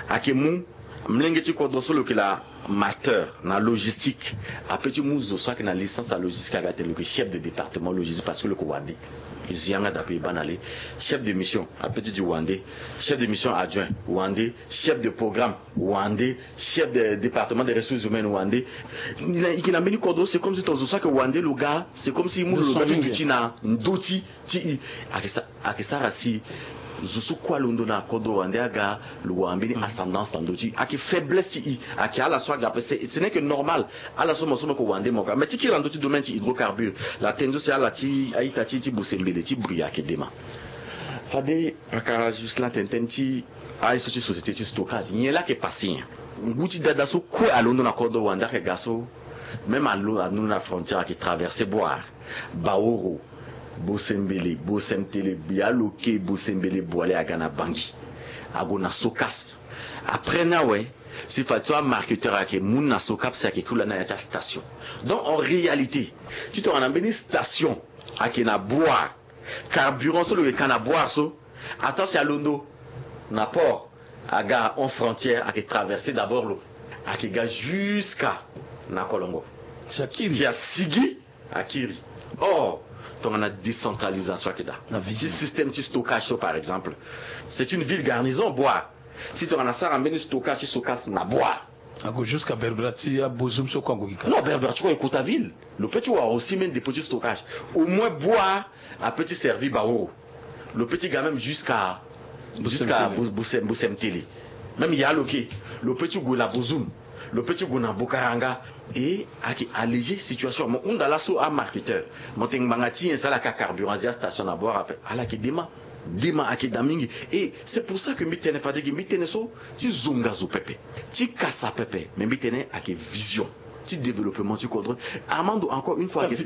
Ayeke mu mlenge ti kodro so lo yeke la master na logistique, ape ti mu zo so ayeke na licence ya logistique, aga tene lo yeke chef de département logistique parce que lo yeke wande. E zi yanga daa ape, e baa na le. Chef de mission ape ti di wande. Chef de mission adjoint wande. Chef de programme wande. Chef de département des ressources humaines wande. E yeke na mbeni kodro, c'est comme si tongaso so ayeke wande lo ga, c'est comme si e mu lo lo ga ti duti na ndö ti ti e. Ayeke sa ayeke sara si zo so kue alondo na kodro wande aga, lo wara mbeni ascendance na ndö ti e. Ayeke faiblesse ti e. Ayeke ala so aga ape, ce n'est que normal. Ala so mo so mo yeke wande mo ga. Mais ti kiri na ndö ti domaine ti hydrocarbure, la tënë so si ala ti a-ita ti e ti Bosembele ti bri ayeke dema. Fade pakara Ghislain tene tënë ti aye so ti société ti stockage, nyen laa ayeke passé nyen? Ngu ti dada so kue alondo na kodro wande ayeke ga so, même alondo na frontière ayeke traversé Bouar, Baoro, Bosembele, Bosemtele, Bialoke, Bosembele, Boale, aga na Bangui, ague na Socasp. Après ni awe, si fade so amarketeur ayeke mu ni na Socasp, si ayeke kiri lani na ya ti astation. Donc en réalité, ti tongana mbeni station ayeke na Bouar, carburant so lo yeke ka na Bouar so, ataa si alondo na port, aga en frontière, ayeke traversé d'abord lo, ayeke ga jusqu'à na Kolongo. Si akiri, si asigi, akiri. Or tongana décentralisation ayeke daa, na ti système ti stockage so par exemple, c'est une ville garnison Bouar. Si tongana asara mbeni stockage ti Socasp na Bouar, ague jusqu'à Berbera ti abozum so kue ague gi ka. Non, Berbera ti kue e kota ville. Lo peut ti wara aussi mbeni dépôt ti stockage. Au moins Bouar apeut ti servir Baoro. Lo peut ti ga même jusqu'à jusqu'à Bosemtele. Même ya lo ke, lo peut ti gue na Bozoum, lo peut ti gue na Bokaranga. Et ayeke alléger situation. Mo hunda laso amarketeur, mo tene ngbanga ti nyen si ala ka carburant azia station na Bouar ape? Ala yeke dema. Dema ayeke daa mingi. Et c'est pour ça que mbi tene fade gi mbi tene so ti zonga zo pepe, ti kasa pepe. Mais mbi tene ayeke vision ti développement ti kodro. Armando, encore une fois, ayeke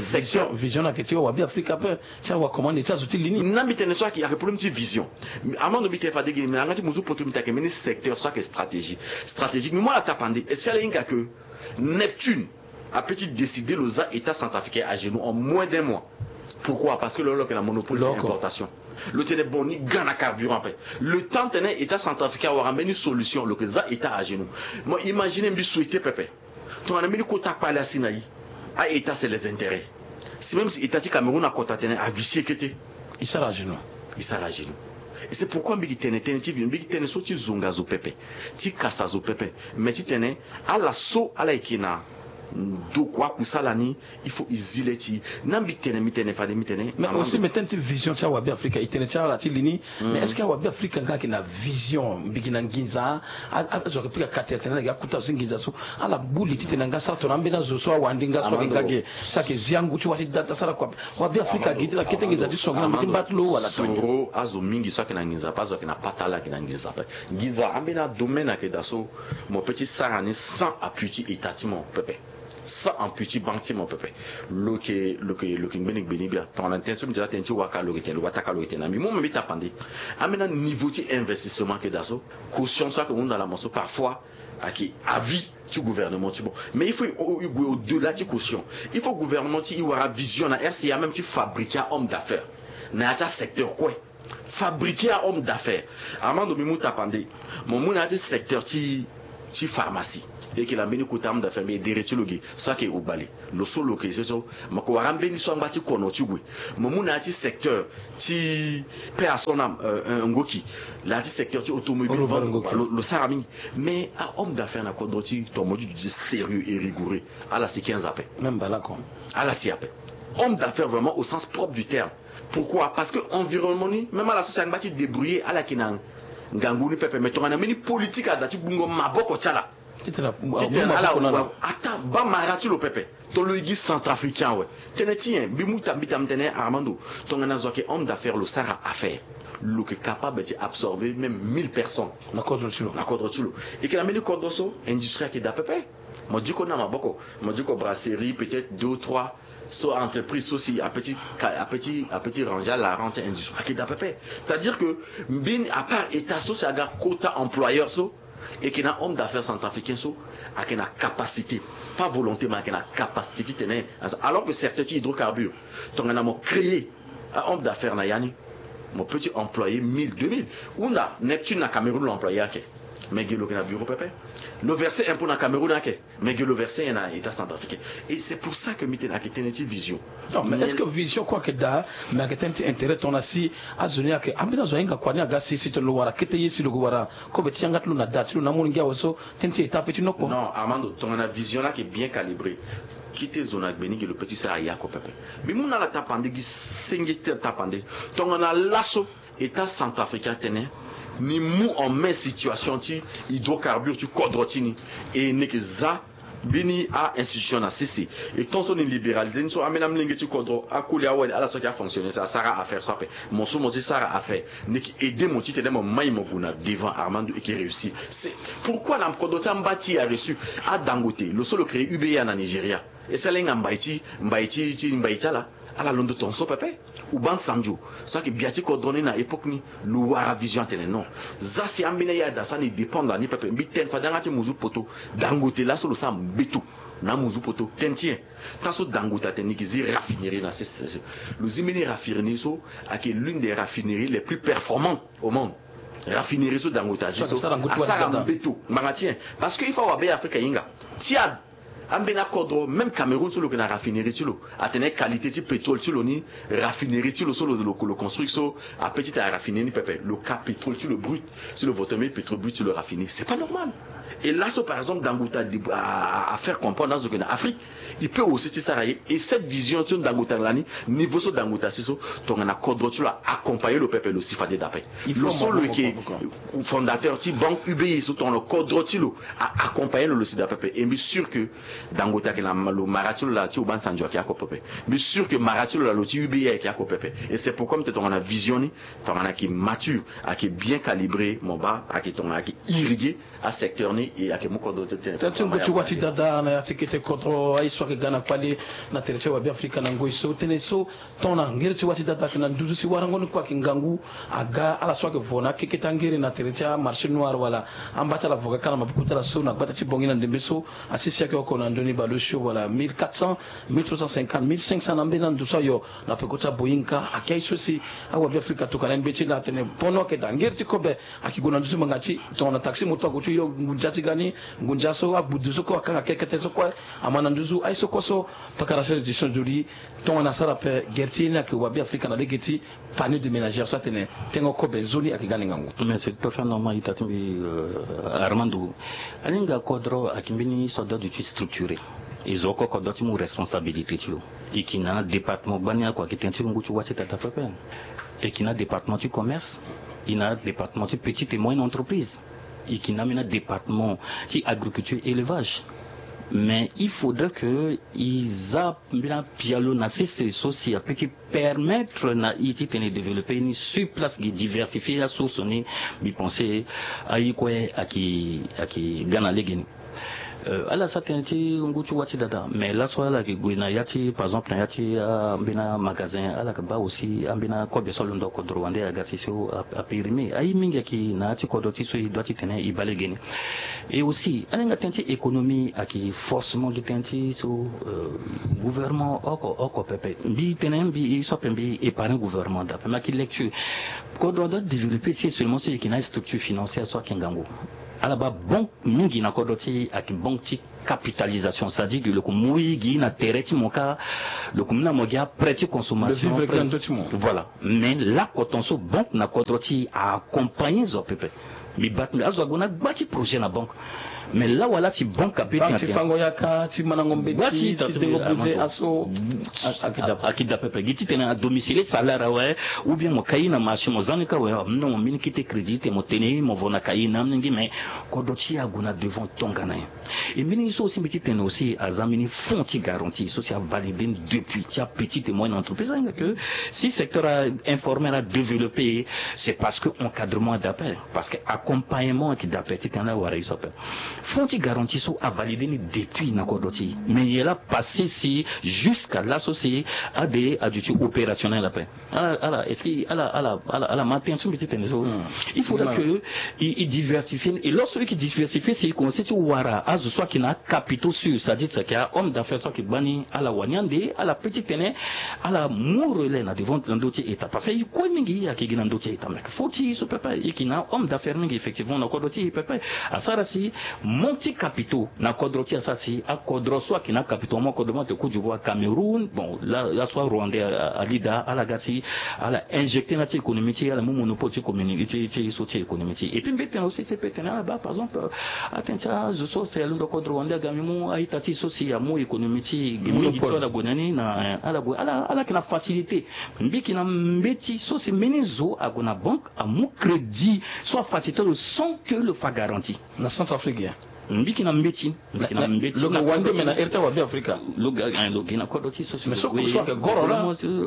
secteur. Vision na yeke ti wa Bêafrika ape. Ti awa comment ti azo ti li ni. Na mbi tene so ayeke problème ti vision. Armando, mbi tene fade gi na yanga ti muzu poto mbi tene ayeke mbeni secteur so ayeke stratégie, stratégique. Mbi mu ala tapande, est-ce que ala hinga que Neptune apeut ti décider lo za état centrafricain à genoux en moins d'un mois? Pourquoi? Parce que lo lo yeke na monopole ti importation. Lo tene bon, ni ga na carburant ape. Le temps tene état centrafricain awara mbeni solution, lo yeke za état à genoux. Mo imaginer, mbi souhaiter pepe, tongana mbeni kota kpale asi na e. A-état c'est les intérêts. Si même si état ti Cameroun akota tene avicier kete, e sara à genoux. E sara à genoux. Et c'est pourquoi mbi yeke tene tënë ti vision, mbi yeke tene so ti zonga zo pepe, ti kasa zo pepe. Mais ti tene ala so ala yeke na Ndokua akusala ni, il faut e zi le ti e. Na mbi tene, mbi tene fade, mbi tene. Mais aussi, mais tënë ti vision ti awabe afrika, e tene ti ala ti li ni. Mais est-ce que awabe afrika nga ayeke na vision mbigi na nginza? Azo ayeke pika kati atene ala ga kuta si nginza so ala gbu li titene nga sara tongana ambeni azo so awandi nga so ayeke ga ge, so ayeke zi angu ti wa ti data sara kua. Wabe afrika gi ti la kete nginza ti songo na mbi ti mba ti lo wala tongo. Azo mingi so ayeke na nginza ape, azo ayeke na pata ala ayeke na nginza ape. Nginza ambeni adomaine ayeke daa so mo pe ti sara ni sans appui ti état ti mo pepe, sans appui ti banque ti mo pepe. Lo yeke, lo yeke, lo yeke ngbeni gbeni bia. Tongana tënë so mbi tene atënë ti waka lo yeke tene, lo bataka lo yeke tene na mbi. Mo mbi tapande. Ambeni aniveau ti investissement ayeke daa so, caution so ayeke hunda na mo so parfois ayeke avis ti gouvernement ti bon. Mais il faut e gue au-delà ti caution. Il faut gouvernement ti e wara vision na R C A même ti fabriquer homme d'affaires na ya ti asecteur kue. Fabriquer a homme d'affaires. Armando, mbi mu tapande. Mo mu na ya ti secteur ti, ti pharmacie. E yeke na mbeni kota homme d'affaires, mbi edere ti lo ge so ayeke Ogbale. Lo so lo yeke so, mo yeke wara mbeni so angba ti kono ti gue. Mo mu na ya ti secteur ti paix à son âme, euh, euh, Ngoki. Na ya ti secteur ti automobile, lo, lo sara mingi. Mais a homme d'affaires na kodro ti tongana mo ti duti sérieux et rigoureux, ala si quinze ape. Même bala ko. Ala si ape. Homme d'affaires vraiment au sens propre du terme. Pourquoi? Parce que environnement ni, même ala so si angba ti débrouiller, ala yeke na ngangu ni pepe. Mais tongana mbeni politique ada ti gbungo maboko ti ala, titene ala ata baa mara ti lo pepe. Tongana lo e gi centrafricain awe. Tënë ti nyen? Mbi mu ta, mbi ta, mbi tene Armando, tongana zo ayeke homme d'affaires, lo sara affaire, lo yeke capable ti absorber même mille personnes na kodro ti lo. Na kodro ti lo. E yeke na mbeni kodro so industrie ayeke daa pepe. Mo diko na maboko, mo diko brasserie, peut-être deux ou trois so entreprise so si ape ti ka, ape ti, ape ti ranger ala rang ti industrie ayeke daa pepe. C'est-à-dire que mbeni, à part état so si aga kota employeur so, e yeke na homme d'affaires centrafricain so ayeke na capacité, pas volonté, mais ayeke na capacité titene. Alors que secteur ti hydrocarbure, tongana mo créer a homme d'affaires na ya ni, mo peut ti employer mille, deux mille. Hunda, Neptune na Cameroun lo employer ake. Mais ge lo yeke na bureau pepe. Lo verser impôt na Cameroun ake. Mais ge lo verser nyen na état centrafricain? Et c'est pour ça que mbi tene ayeke tënë ti vision. Non, mais est-ce que vision kue ayeke daa? Mais ayeke tënë ti intérêt tongana si azo ni ayeke, ambeni azo ahinga kua ni aga si, si tene lo wara kete ye si lo yeke wara kobe ti yanga ti lo na da ti lo na amolenge awe so, tënë ti état ape ti noko. Non, Armando, tongana vision ni ayeke bien calibré, kete zo na gbe ni ge lo peut ti sara ya oko pepe. Mbi mu na ala tapande gi senge ti tapande. Tongana laso état centrafricain atene ni mu en main situation ti hydrocarbure ti kodro ti ni, e ni yeke za mbeni a institution na sese. E tant so ni libéraliser ni so, ambeni amolenge ti kodro, akoli, awali, ala so ayeke afonctionner so asara affaire so ape. Mo so mo ti sara affaire, ni yeke aider mo titene mo mai mo gue na devant, Armando, e yeke réussir. C'est pourquoi na kodro ti amba ti e areussi. A Dangote, lo so lo créer U B A na Nigeria, e sara hinga mbai ti, mbai ti, ti mbai ti ala. Ala londo tongaso pepe. Obasanjo so ayeke bia ti kodro ni na époque ni, lo wara vision atene non. Za si ambeni aye ada so ani dépendre na ni pepe. Mbi tene fade yanga ti muzu poto. Dangote laso lo sara mbeto na amuzu poto. Tënë ti nyen? Tant so Dangote atene ni yeke zi raffinerie na sese, lo zi mbeni raffinerie so ayeke l'une des raffineries les plus performantes au monde. Raffinerie so Dangote azi so asara mbeto. Ngbanga ti nyen? Parce que il faut awabe Afrika ahinga. Ti a Ambeni akodro, même Cameroun so lo yeke na raffinerie ti lo, atene qualité ti pétrole ti lo ni, raffinerie ti lo so lo, lo, lo construire so, ape ti tara raffinerie ni pepe, lo ka pétrole ti lo brut, si lo voto mbeni pétrole brut ti lo raffinerie, c'est pas normal. Et laso par exemple Dangote a, a, a faire comprendre azo ke na Afrique, il peut aussi ti sara ye. Et cette vision so Dangote alani, niveau so Dangote asi so, tongana kodro ti lo a accompagner lo pepe, lo si fade dape. Lo so lo yeke fondateur ti banque U B A so, tongana kodro ti lo a accompagner lo, lo si dape pepe. Et mbi sûr que Dangote ayeke na lo mara ti lo laa ti Obasanjo ayeke oko pepe. Mbi sûr que mara ti lo laa lo ti U B A ayeke oko pepe. Et c'est pourquoi mbi tene tongana vision ni, tongana ayeke mature, ayeke bien calibré, mo baa ayeke tongana ayeke irrigué asecteur ni, e ayeke mu kodro ti tene. Tënë ti ngu ti wa ti dada na ya ti kete kodro, aye so ayeke ga na kpale na tere ti awabe Afrika na ngoi so, tënë so tongana ngere ti wa ti dada ayeke na nduzu si warango ni kue ayeke ngangu. Aga ala so ayeke vo na akeke ti angere na tere ti amarché noir wala amba ti ala vo ga kâ na maboko ti ala so na gbata ti Bangui na ndembe so, asi si ayeke oko na ndoni baleosio wala mille quatre cents, mille trois cent cinquante, mille cinq cents na ambeni ando so ayo na peko ti aboyinka. Ayeke aye so si awabe Afrika atokua na e mbeti laa atene pono ayeke daa ngere ti kobe ayeke gue na nduzu ngbanga ti tongana taxi moto ague ti yo ngunza ti ga ni, ngunza so agbudu so kue akanga kekete so kue ama na nduzu. Aye so kue so pakara charge de change de lit. Tongana asara ape gere ti ye ni ayeke wabe Afrika na lege ti panier de ménagère so atene tengo kobe nzoni ayeke ga na e ngangu. Mais c'est tout à fait normal, ita ti mbi, euh, Armando. Aninga kodro ayeke mbeni histoire d'ordre ti structuré. E zo oko kodro ti mu responsabilité ti lo. E yeke na département gbani oko ayeke tënë ti ngu ti wa ti tata pepe. E yeke na département ti commerce. E na département ti petite et moyenne entreprise. E yeke na ambeni département ti agriculture élevage. Mais il faudrait que e za mbeni apialo na sese so si apeut ti permettre na e titene e développer ni sur place, gi diversifier asource ni. Mbi pense aye kue ayeke, ayeke ga na lege ni. Euh, ala sara tënë ti ngu ti wa ti dada, mais laso ala yeke gue na ya ti, par exemple, na ya ti ambeni amagasin, ala yeke baa aussi ambeni akobe so alondo kodro wande aga si so a, apérime. Aye mingi ayeke na ya ti kodro ti so e doit titene e baa lege ni. Et aussi ala hinga tënë ti économie ayeke forcément gi tënë ti so, euh, gouvernement oko oko pepe. Mbi tene mbi e so ape mbi épargne gouvernement dape, mais ayeke lecture. Kodro adoit développer si seulement so e yeke na aye structure financière so ayeke ngangu. Ala baa banque mingi na kodro ti e ayeke banque ti capitalisation, c'est-à-dire que lo yeke mu e gi na tere ti mo kâ, lo yeke mu na mo gi aprêt ti consommation. Voilà. Mais lakoton so banque na kodro ti e a accompagner zo pepe. Mbi baa ti mbi azo ague na gba ti projet na banque. Mais lawala si banque ape ti fango yaka ti mandango mbeti ti dengo buze aso. Ayeke daa pepe gi titene a domicilier salaire awe, ou bien mo kai na marché mo za ni kâ awe, mo na mo mbeni kete crédit ti mo tene mo vo na kai na amolenge, mais kodro ti e ague na devant tongana nyen? E mbeni so aussi mbi ti tene aussi aza mbeni fonds ti garantie so si avalider ni depuis ti apetite et moyenne entreprise. Ahinga que si secteur informel adévelopper, c'est parce que encadrement adape, parce que accompagnement ayeke dape titene ala wara e so ape. Fonds ti garantie so avalider ni depuis na kodro ti e, mais e laa passer si jusqu'à laso si ade aduti opérationnel ape. Ala ala est-ce que ala ala ala ala ma tënë so mbi ti tene so? Il faudra que e diversifier ni. Et lorsque e yeke diversifier si e commencer ti wara azo so ayeke na acapitaux sûr, c'est-à-dire si ayeke ahomme d'affaires so ayeke gbani, ala wani ande ala peut ti tene ala mu relais na devant na ndö ti état, parce que e kue mingi ayeke gi na ndö ti état. Mais faut ti so pepe e yeke na homme d'affaires mingi effectivement na kodro ti e pepe. Asara si manque ti capitaux na kodro ti e asara si akodro so ayeke na acapitaux, mo kodro mo ayeke Côte d'Ivoire, Cameroun, bon laso arwandais ali daa, ala ga si ala injecter na ti économie ti e, ala mu monopole ti communauté ti so ti économie ti e. Et puis mbi tene aussi si e peut tene ala baa par exemple atene ti azo so si alondo kodro wande aga mbi mu a-ita ti e so si amu économie ti e gi mingi ti so ala gue na ni na ala gue ala ala yeke na facilité. Mbi yeke na mbeti so si mbeni zo ague na banque amu crédit so afaciliter lo sans que lo fa garantie. Na Centrafrique ya. Mbi yeke na mbeti. Mbi yeke na mbeti lo ga wande me na ere ti awabe afrika. Lo ga lo gi na kodro ti so si mais so kusu ayeke goro la.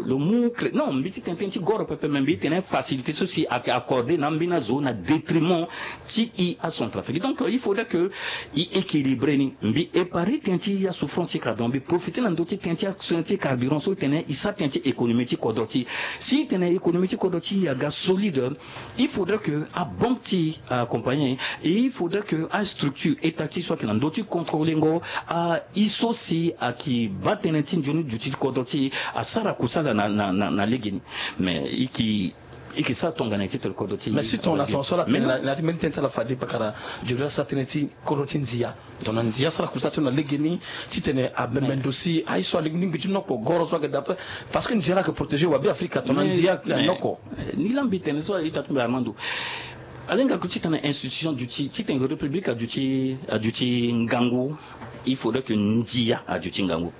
Lo mu crédit non mbi ti tene tënë ti goro pepe, mais mbi ti tene facilité so si ayeke accordé na ambeni azo na détriment ti e acentrafrique. Donc il faudrait que e équilibrer ni. Mbi épargne tënë ti asouffrance ti carburant, mbi profiter na ndö ti tënë ti asouffrance ti carburant so e tene e sara tënë ti économie ti kodro ti e. Si e tene économie ti kodro ti e aga solide, il faudrait que abanque ti e accompagner, et il faudrait que astructure étatique so ayeke na ndö ti contrôler ngo aye so si ayeke baa tënë ti nzoni duti ti kodro ti e asara kusala na na na legeni. Mais e yeke e yeke sara tongana ti tene kodro ti e. Mais si tongana tongaso ala tene na ya ti mbeni tënë ti ala fade pakara, joli asara tënë ti kodro ti ndia. Tongana ndia asara kusala ti lo na legeni titene abembe ndo si aye so alingbi ti noko goro so ayeke daa ape. Parce que ndia la ayeke protéger wabe afrika tongana ndia ayeke noko. Ni la mbi tene so aita ti mbi Armando. Ala hinga lo titene institution aduti titene république aduti aduti ngangu. Il faudrait que ndia aduti ngangu.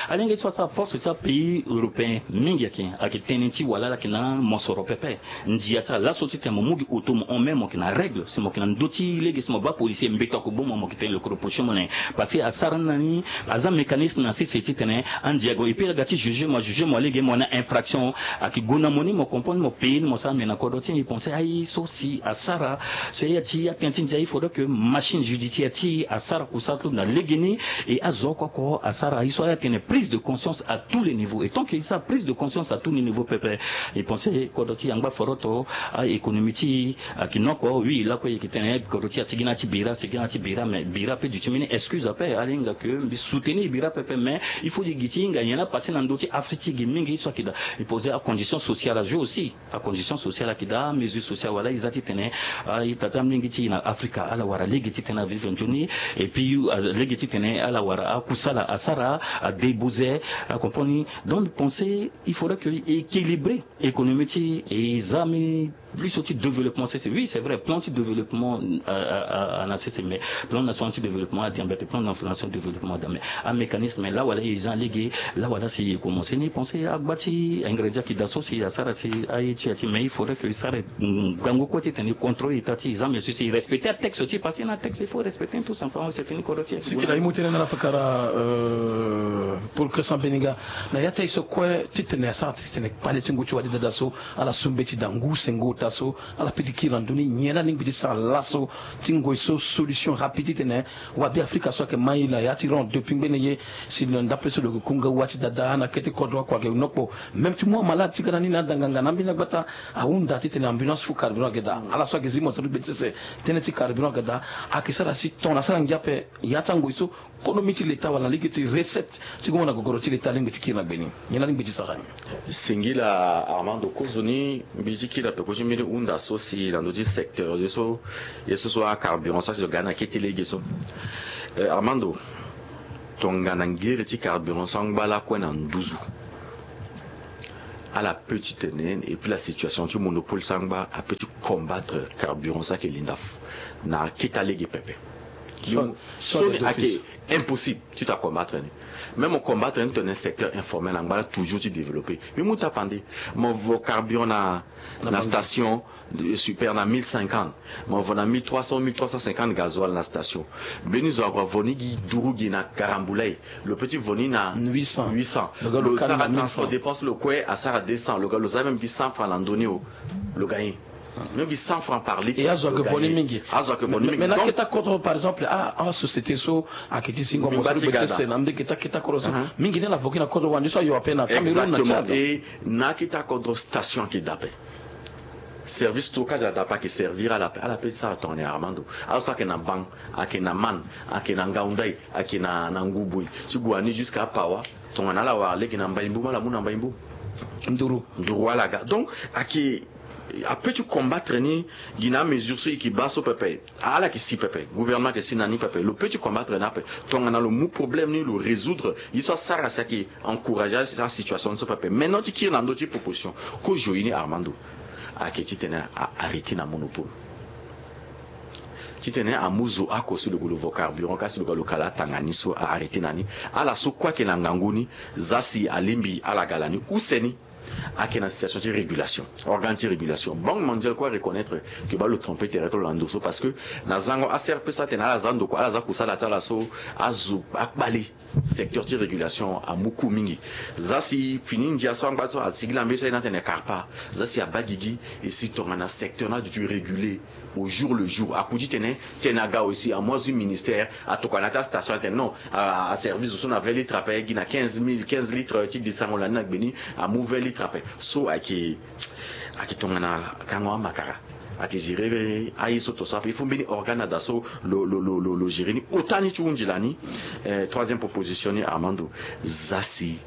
Ala hinga ye so asara force ti apays européen mingi ayeke ayeke tënë ti wala ala yeke na mosoro pepe. Ndia ti ala laso titene mo mu gi auto mo hon même mo yeke na règle si mo yeke na ndö ti lege si mo baa policier mbeto ako boma mo yeke tene lo yeke reprocher mo na nyen? Parce que asara ni na ni aza mécanisme na sese titene andia ague et puis aga ti juger mo ajuger mo alege mo na infraction. Ayeke gue na mo ni mo comprendre mo payer ni mo sara mais na kodro ti e mbi pense aye so si asara so ya ti atënë ti ndia il faudrait que machine judiciaire ti e asara kusala ti lo na legeni. Et azo oko oko asara aye so ala tene prise de conscience à tous les niveaux et tant que e sara prise de conscience à tous les niveaux pepe. E pense kodro ti e angba foroto. Aéconomie ti e ayeke noko oui lakue e yeke tene kodro ti e asigi na ya ti bira asigi na ya ti bira mais bira ape duti mbeni excuse ape. Ala hinga ke mbi soutenir bira pepe mais il faut gi ti e hinga nyen la passer na ndö ti afrique ti e gi mingi so ayeke daa. E pose acondition sociale ajour aussi. Acondition sociale ayeke daa amesure sociale wala e za titene A-ita ti amolenge ti e na Afrika ala wara lege titene avivre nzoni. Et puis, euh, lege titene ala wara akusala asara, adébouze, a comprendre ni. Donc, mi pense il faudrait que équilibrer économie ti e, e za mi plus so ti développement sese. Oui, c'est vrai, plan ti développement, euh, euh, euh, na sese, mais plan national ti développement adi ambeti, plan national ti développement adi ambeti. Amécanisme la wala e za lege, la wala si e commencer ni pense agba ti ingrédient ayeke daa so si asara si aye ti ya ti, mais il faudrait que e sara, mm, gango kue titene e contrôler état ti e za, mais si e respecter atexte ti e, parce que na texte il faut respecter tout simplement, c'est fini, kodro ti e. Siki la e mu tënë na ala fakara, euh, pour que sambeni nga na ya ti aye so kue titene asara titene kpale ti ngu ti wali dada so ala su mbeti daa ngu sengo ota so ala peut ti kiri na ndö ni. Nyen la alingbi ti sara laso ti ngoi so solution rapide titene wabe Afrika so ayeke ma e na ya ti rond depuis ngbene ye, si na ndape so lo yeke ku nga wa ti dada na kete kodro akua ayeke nokpo. Même ti mu amalade ti ga na ni na adanganga na ambeni agbata ahunda titene ambulance fou carburant ayeke daa. Ala so ayeke zi mo so ti gbe ti sese tënë ti carburant ayeke daa. Ayeke sara si tongana asara ngia ape ya ti angoi so konomi ti leta wala na lege ti recette ti gongo na gogoro ti leta alingbi ti kiri na gbe ni. Nyen la alingbi ti sara ni? Singila Armando, kozoni mbi ti kiri ape ko ti mbeni hunda so si na ndö ti secteur ye so, ye so so acarburant so asi lo ga ni na kete lege so. Eh, Armando, tongana ngere ti carburant so angba lakue na nduzu, ala peut ti tene, et puis la situation ti monopole so angba apeut ti combattre carburant so ayeke linda fu na akita lege pepe. So, so ni ayeke impossible ti ta combattre ni. Même combattre ni tene secteur informel angba la toujours ti développer. Mbi mu tapande, mo vo carburant na, na station, euh, super na mille cinquante. Mo vo na mille trois cents, mille trois cent cinquante gasoil na station. Mbeni zo akua vo ni gi duru gi na Karambulay. Lo peut ti vo ni na huit cents. Huit cents. Lo ga lo sara transport dépense lo kue asara deux cents. Lo ga lo za même gi cent francs na ndö ni o. Lo ga ye. Même gi cent francs par litre. Et azo ayeke vo ni mingi. Azo ayeke vo ni mingi. Mais na keta kodro, par exemple, ah, ah, société so ayeke ti zingo mo so ti gbe sese na ndö keta keta kodro so. Mingi ni ala vo gi na kodro wande so ayo ape na Cameroun na Tchad. Exactement. Et na akita kodro station ayeke daa ape. Service stockage daa ape ayeke servir ala ape. Ala peut ti sara tongana nyen Armando? Azo so ayeke na Bang, ayeke na Man, ayeke na Ngaoundai, ayeke na, na Ngouboui ti gue na ni jusqu'à Pawa. Tongana ala wara lege na Mbaïmboum, ala mu na Mbaïmboum. Nduru. Nduru ala ga. Donc ayeke, apeut ti combattre ni gi na amesure so e yeke baa so pepe. Ala yeke si pepe, gouvernement ayeke si na ni pepe. Lo peut ti combattre ni ape. Tongana lo mu problème ni lo résoudre, ye so asara si ayeke encourager asituation ni so pepe. Maintenant ti kiri na ndö ti proposition, kozoni Armando, ayeke titene a arrêter na monopole. Titene amu zo oko si lo gue lo vo carburant ka si lo ga lo kala atanga ni so a arrêter na ni. Ala so kue ayeke na ngangu ni, za si alingbi ala ga lani use ni. Ayeke na situation ti régulation, organe ti régulation. Banque mondiale kue areconnaître ke baa lo tromper tere ti lo na ndo so, parce que na zango A C R P so atene ala za ndokua, ala za kusala ti ala so azo akpale. Secteur ti régulation amu ku mingi. Za si fini ndia so angba so asigi na mbeni so aye ni atene carpa. Za si abaa gigi, e si tongana secteur ni aduti réguler au jour le jour. Aku ti tene, tene aga aussi amu azo ti ministère, atokua na ya ti astation atene non, a, aservi zo so na vingt litres ape, gi na quinze mille, quinze litres ti desango na ni na gbe ni, amu vingt litres ape. So ayeke, ayeke tongana kango amakara. Ayeke gérer aye so to so ape. Il faut mbeni organe ada so lo, lo, lo, lo, lo gérer ni. Ota ni ti hunzi lani. Eh, troisième proposition ni, Armando. Za si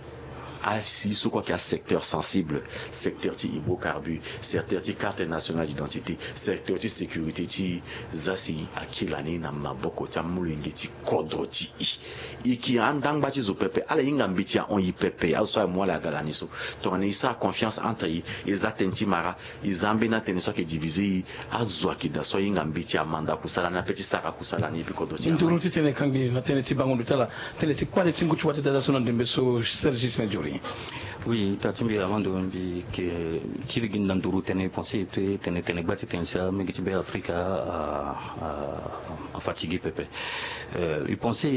asi so kue ayeke asecteur sensible, secteur ti hydrocarbure, secteur ti carte nationale d'identité, secteur ti sécurité ti, za si akiri lani na maboko ti amolenge ti kodro ti e. E yeke andangba ti zo pepe, ala hinga mbeti ahon e pepe, azo so aye mu ala aga lani so. Tongana e sara confiance entre e, e za tënë ti mara, e za ambeni atënë so ayeke diviser e, azo ayeke daa so ahinga mbeti amanda kusala ni ape ti sara kusala ni e bi kodro ti e. Nduru ti tene kangbi na tënë ti bango ndo ti ala, tënë ti kpale ti ngu ti wâ ti dada so na ndembe so, Serge Sina Diori. Oui, ita ti mbi avant de mbi yeke kiri gi na nduru tënë, e pense ti tene, tene gba ti tene si amolenge ti Be Afrika a, a, a fatigué pepe. Euh, e pense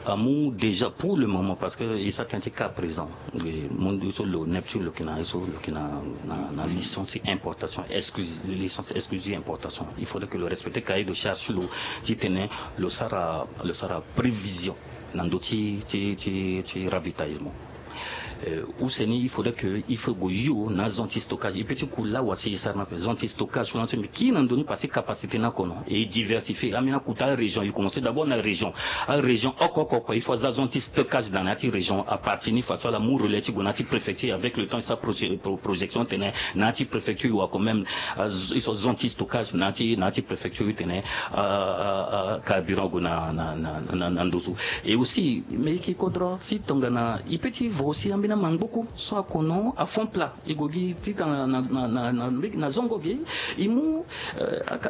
amu déjà pour le moment, parce que e sara tënë ti cas présent, e, mu so lo Neptune lo yeke na, so lo yeke na, na, na licence importation exclusive, licence exclusive importation. Il faudrait que lo respecter cahier de charge ti lo, ti tene lo sara, lo sara prévision na ndö ti, ti, ti, ti ravitaillement. Use ni il faudrait que il faut go yo na zone ti stockage. E pe ti ku lawa si e sara na pe zone ti stockage so na so mbi kiri na ndoni parce que capacité ni akono e diversifier. Ambeni akuta arégion, e commencer d'abord na région. Arégion oko oko oko il faut aza zone ti stockage dans na ya ti région. À partir ni façon ala mu relais ti go na ya ti préfecture, avec le temps e sara projection tene na ya ti préfecture e wara quand même e so zone ti stockage na ya ti préfecture e tene carburant go na nduzu. Et aussi mais e ke kodro si tongana e pe ti vo aussi ambeni amangboku so akono à fond plat e go gi titene na zongo ge e mu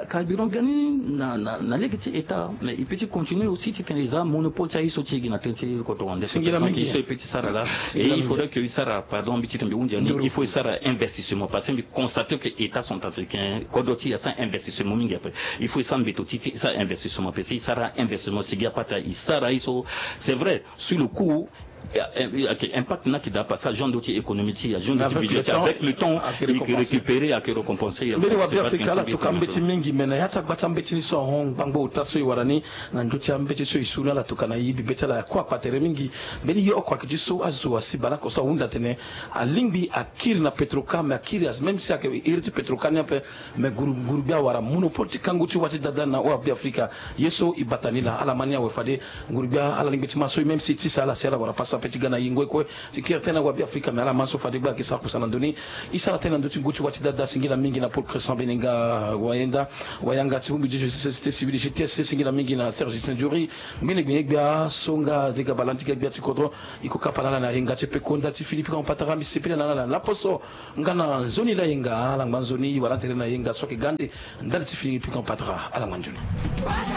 carburant ga ni na lege ti état. Mais e pe ti continuer aussi titene e za monopole ti aye so ti e gi na tënë ti kodro wande. Singila mingi. E pe ti sara laa. Et il faudrait que e sara, pardon, mbi titene mbi hunzi ni, il faut e sara investissement parce que mbi constate que état centrafricain kodro ti e asara investissement mingi. Après il faut e sara mbeto ti e sara investissement parce que e sara investissement sigi apata e sara ye so. C'est vrai, sur le coup, impact ni ayeke daa parce que agent ti économie ti e, agent ti budget ti e, avec le temps e ke récupérer, e ke récompenser. Mbeni wa Beafrika ala tuka mbeti mingi, me na ya ti agba ti ambeti ni so ahon ngbangbo ota so e wara ni na ndö ti ambeti so e su ni, ala tuka na e bibe ti ala akua kpa tere mingi. Mbeni ye oko ayeke ti so azo asi baleoko so ahunda atene alingbi akiri na Petrocar, me akiri même si ayeke iri ti Petrocar ni ape. Me nguru-gbia awara monopole ti kangu ti wa ti dada na hon Beafrika. Ye so e bata ni laa, ala ma ni awe fade nguru-gbia ala lingbi ti ma so e même si e tisa ala si ala wara pasa ape ti ga na yengo e kue ti kiri tënë na hon Beafrika. Me ala ma so fade gba ayeke sara kusa na ndö ni. E sara tënë na ndö ti ngu ti wa ti dada. Singila mingi na Paul Crescent Benenga, wayenda wayanga ti bongbi ti société civile G T S, singila mingi na Serge Justin Diori. Ngbene gbene gbia so nga dega baleandiga gbia ti kodro. E ko kapa na ala na yenga ti pekonda ti Philippe Kampatara. Mbi sepela na ala na laposo nga na nzoni layenga. Ala ngba nzoni, e wara tere na yenga so ayeke ga ande ndali ti Philippe Kampatara. Ala ngba nzoni.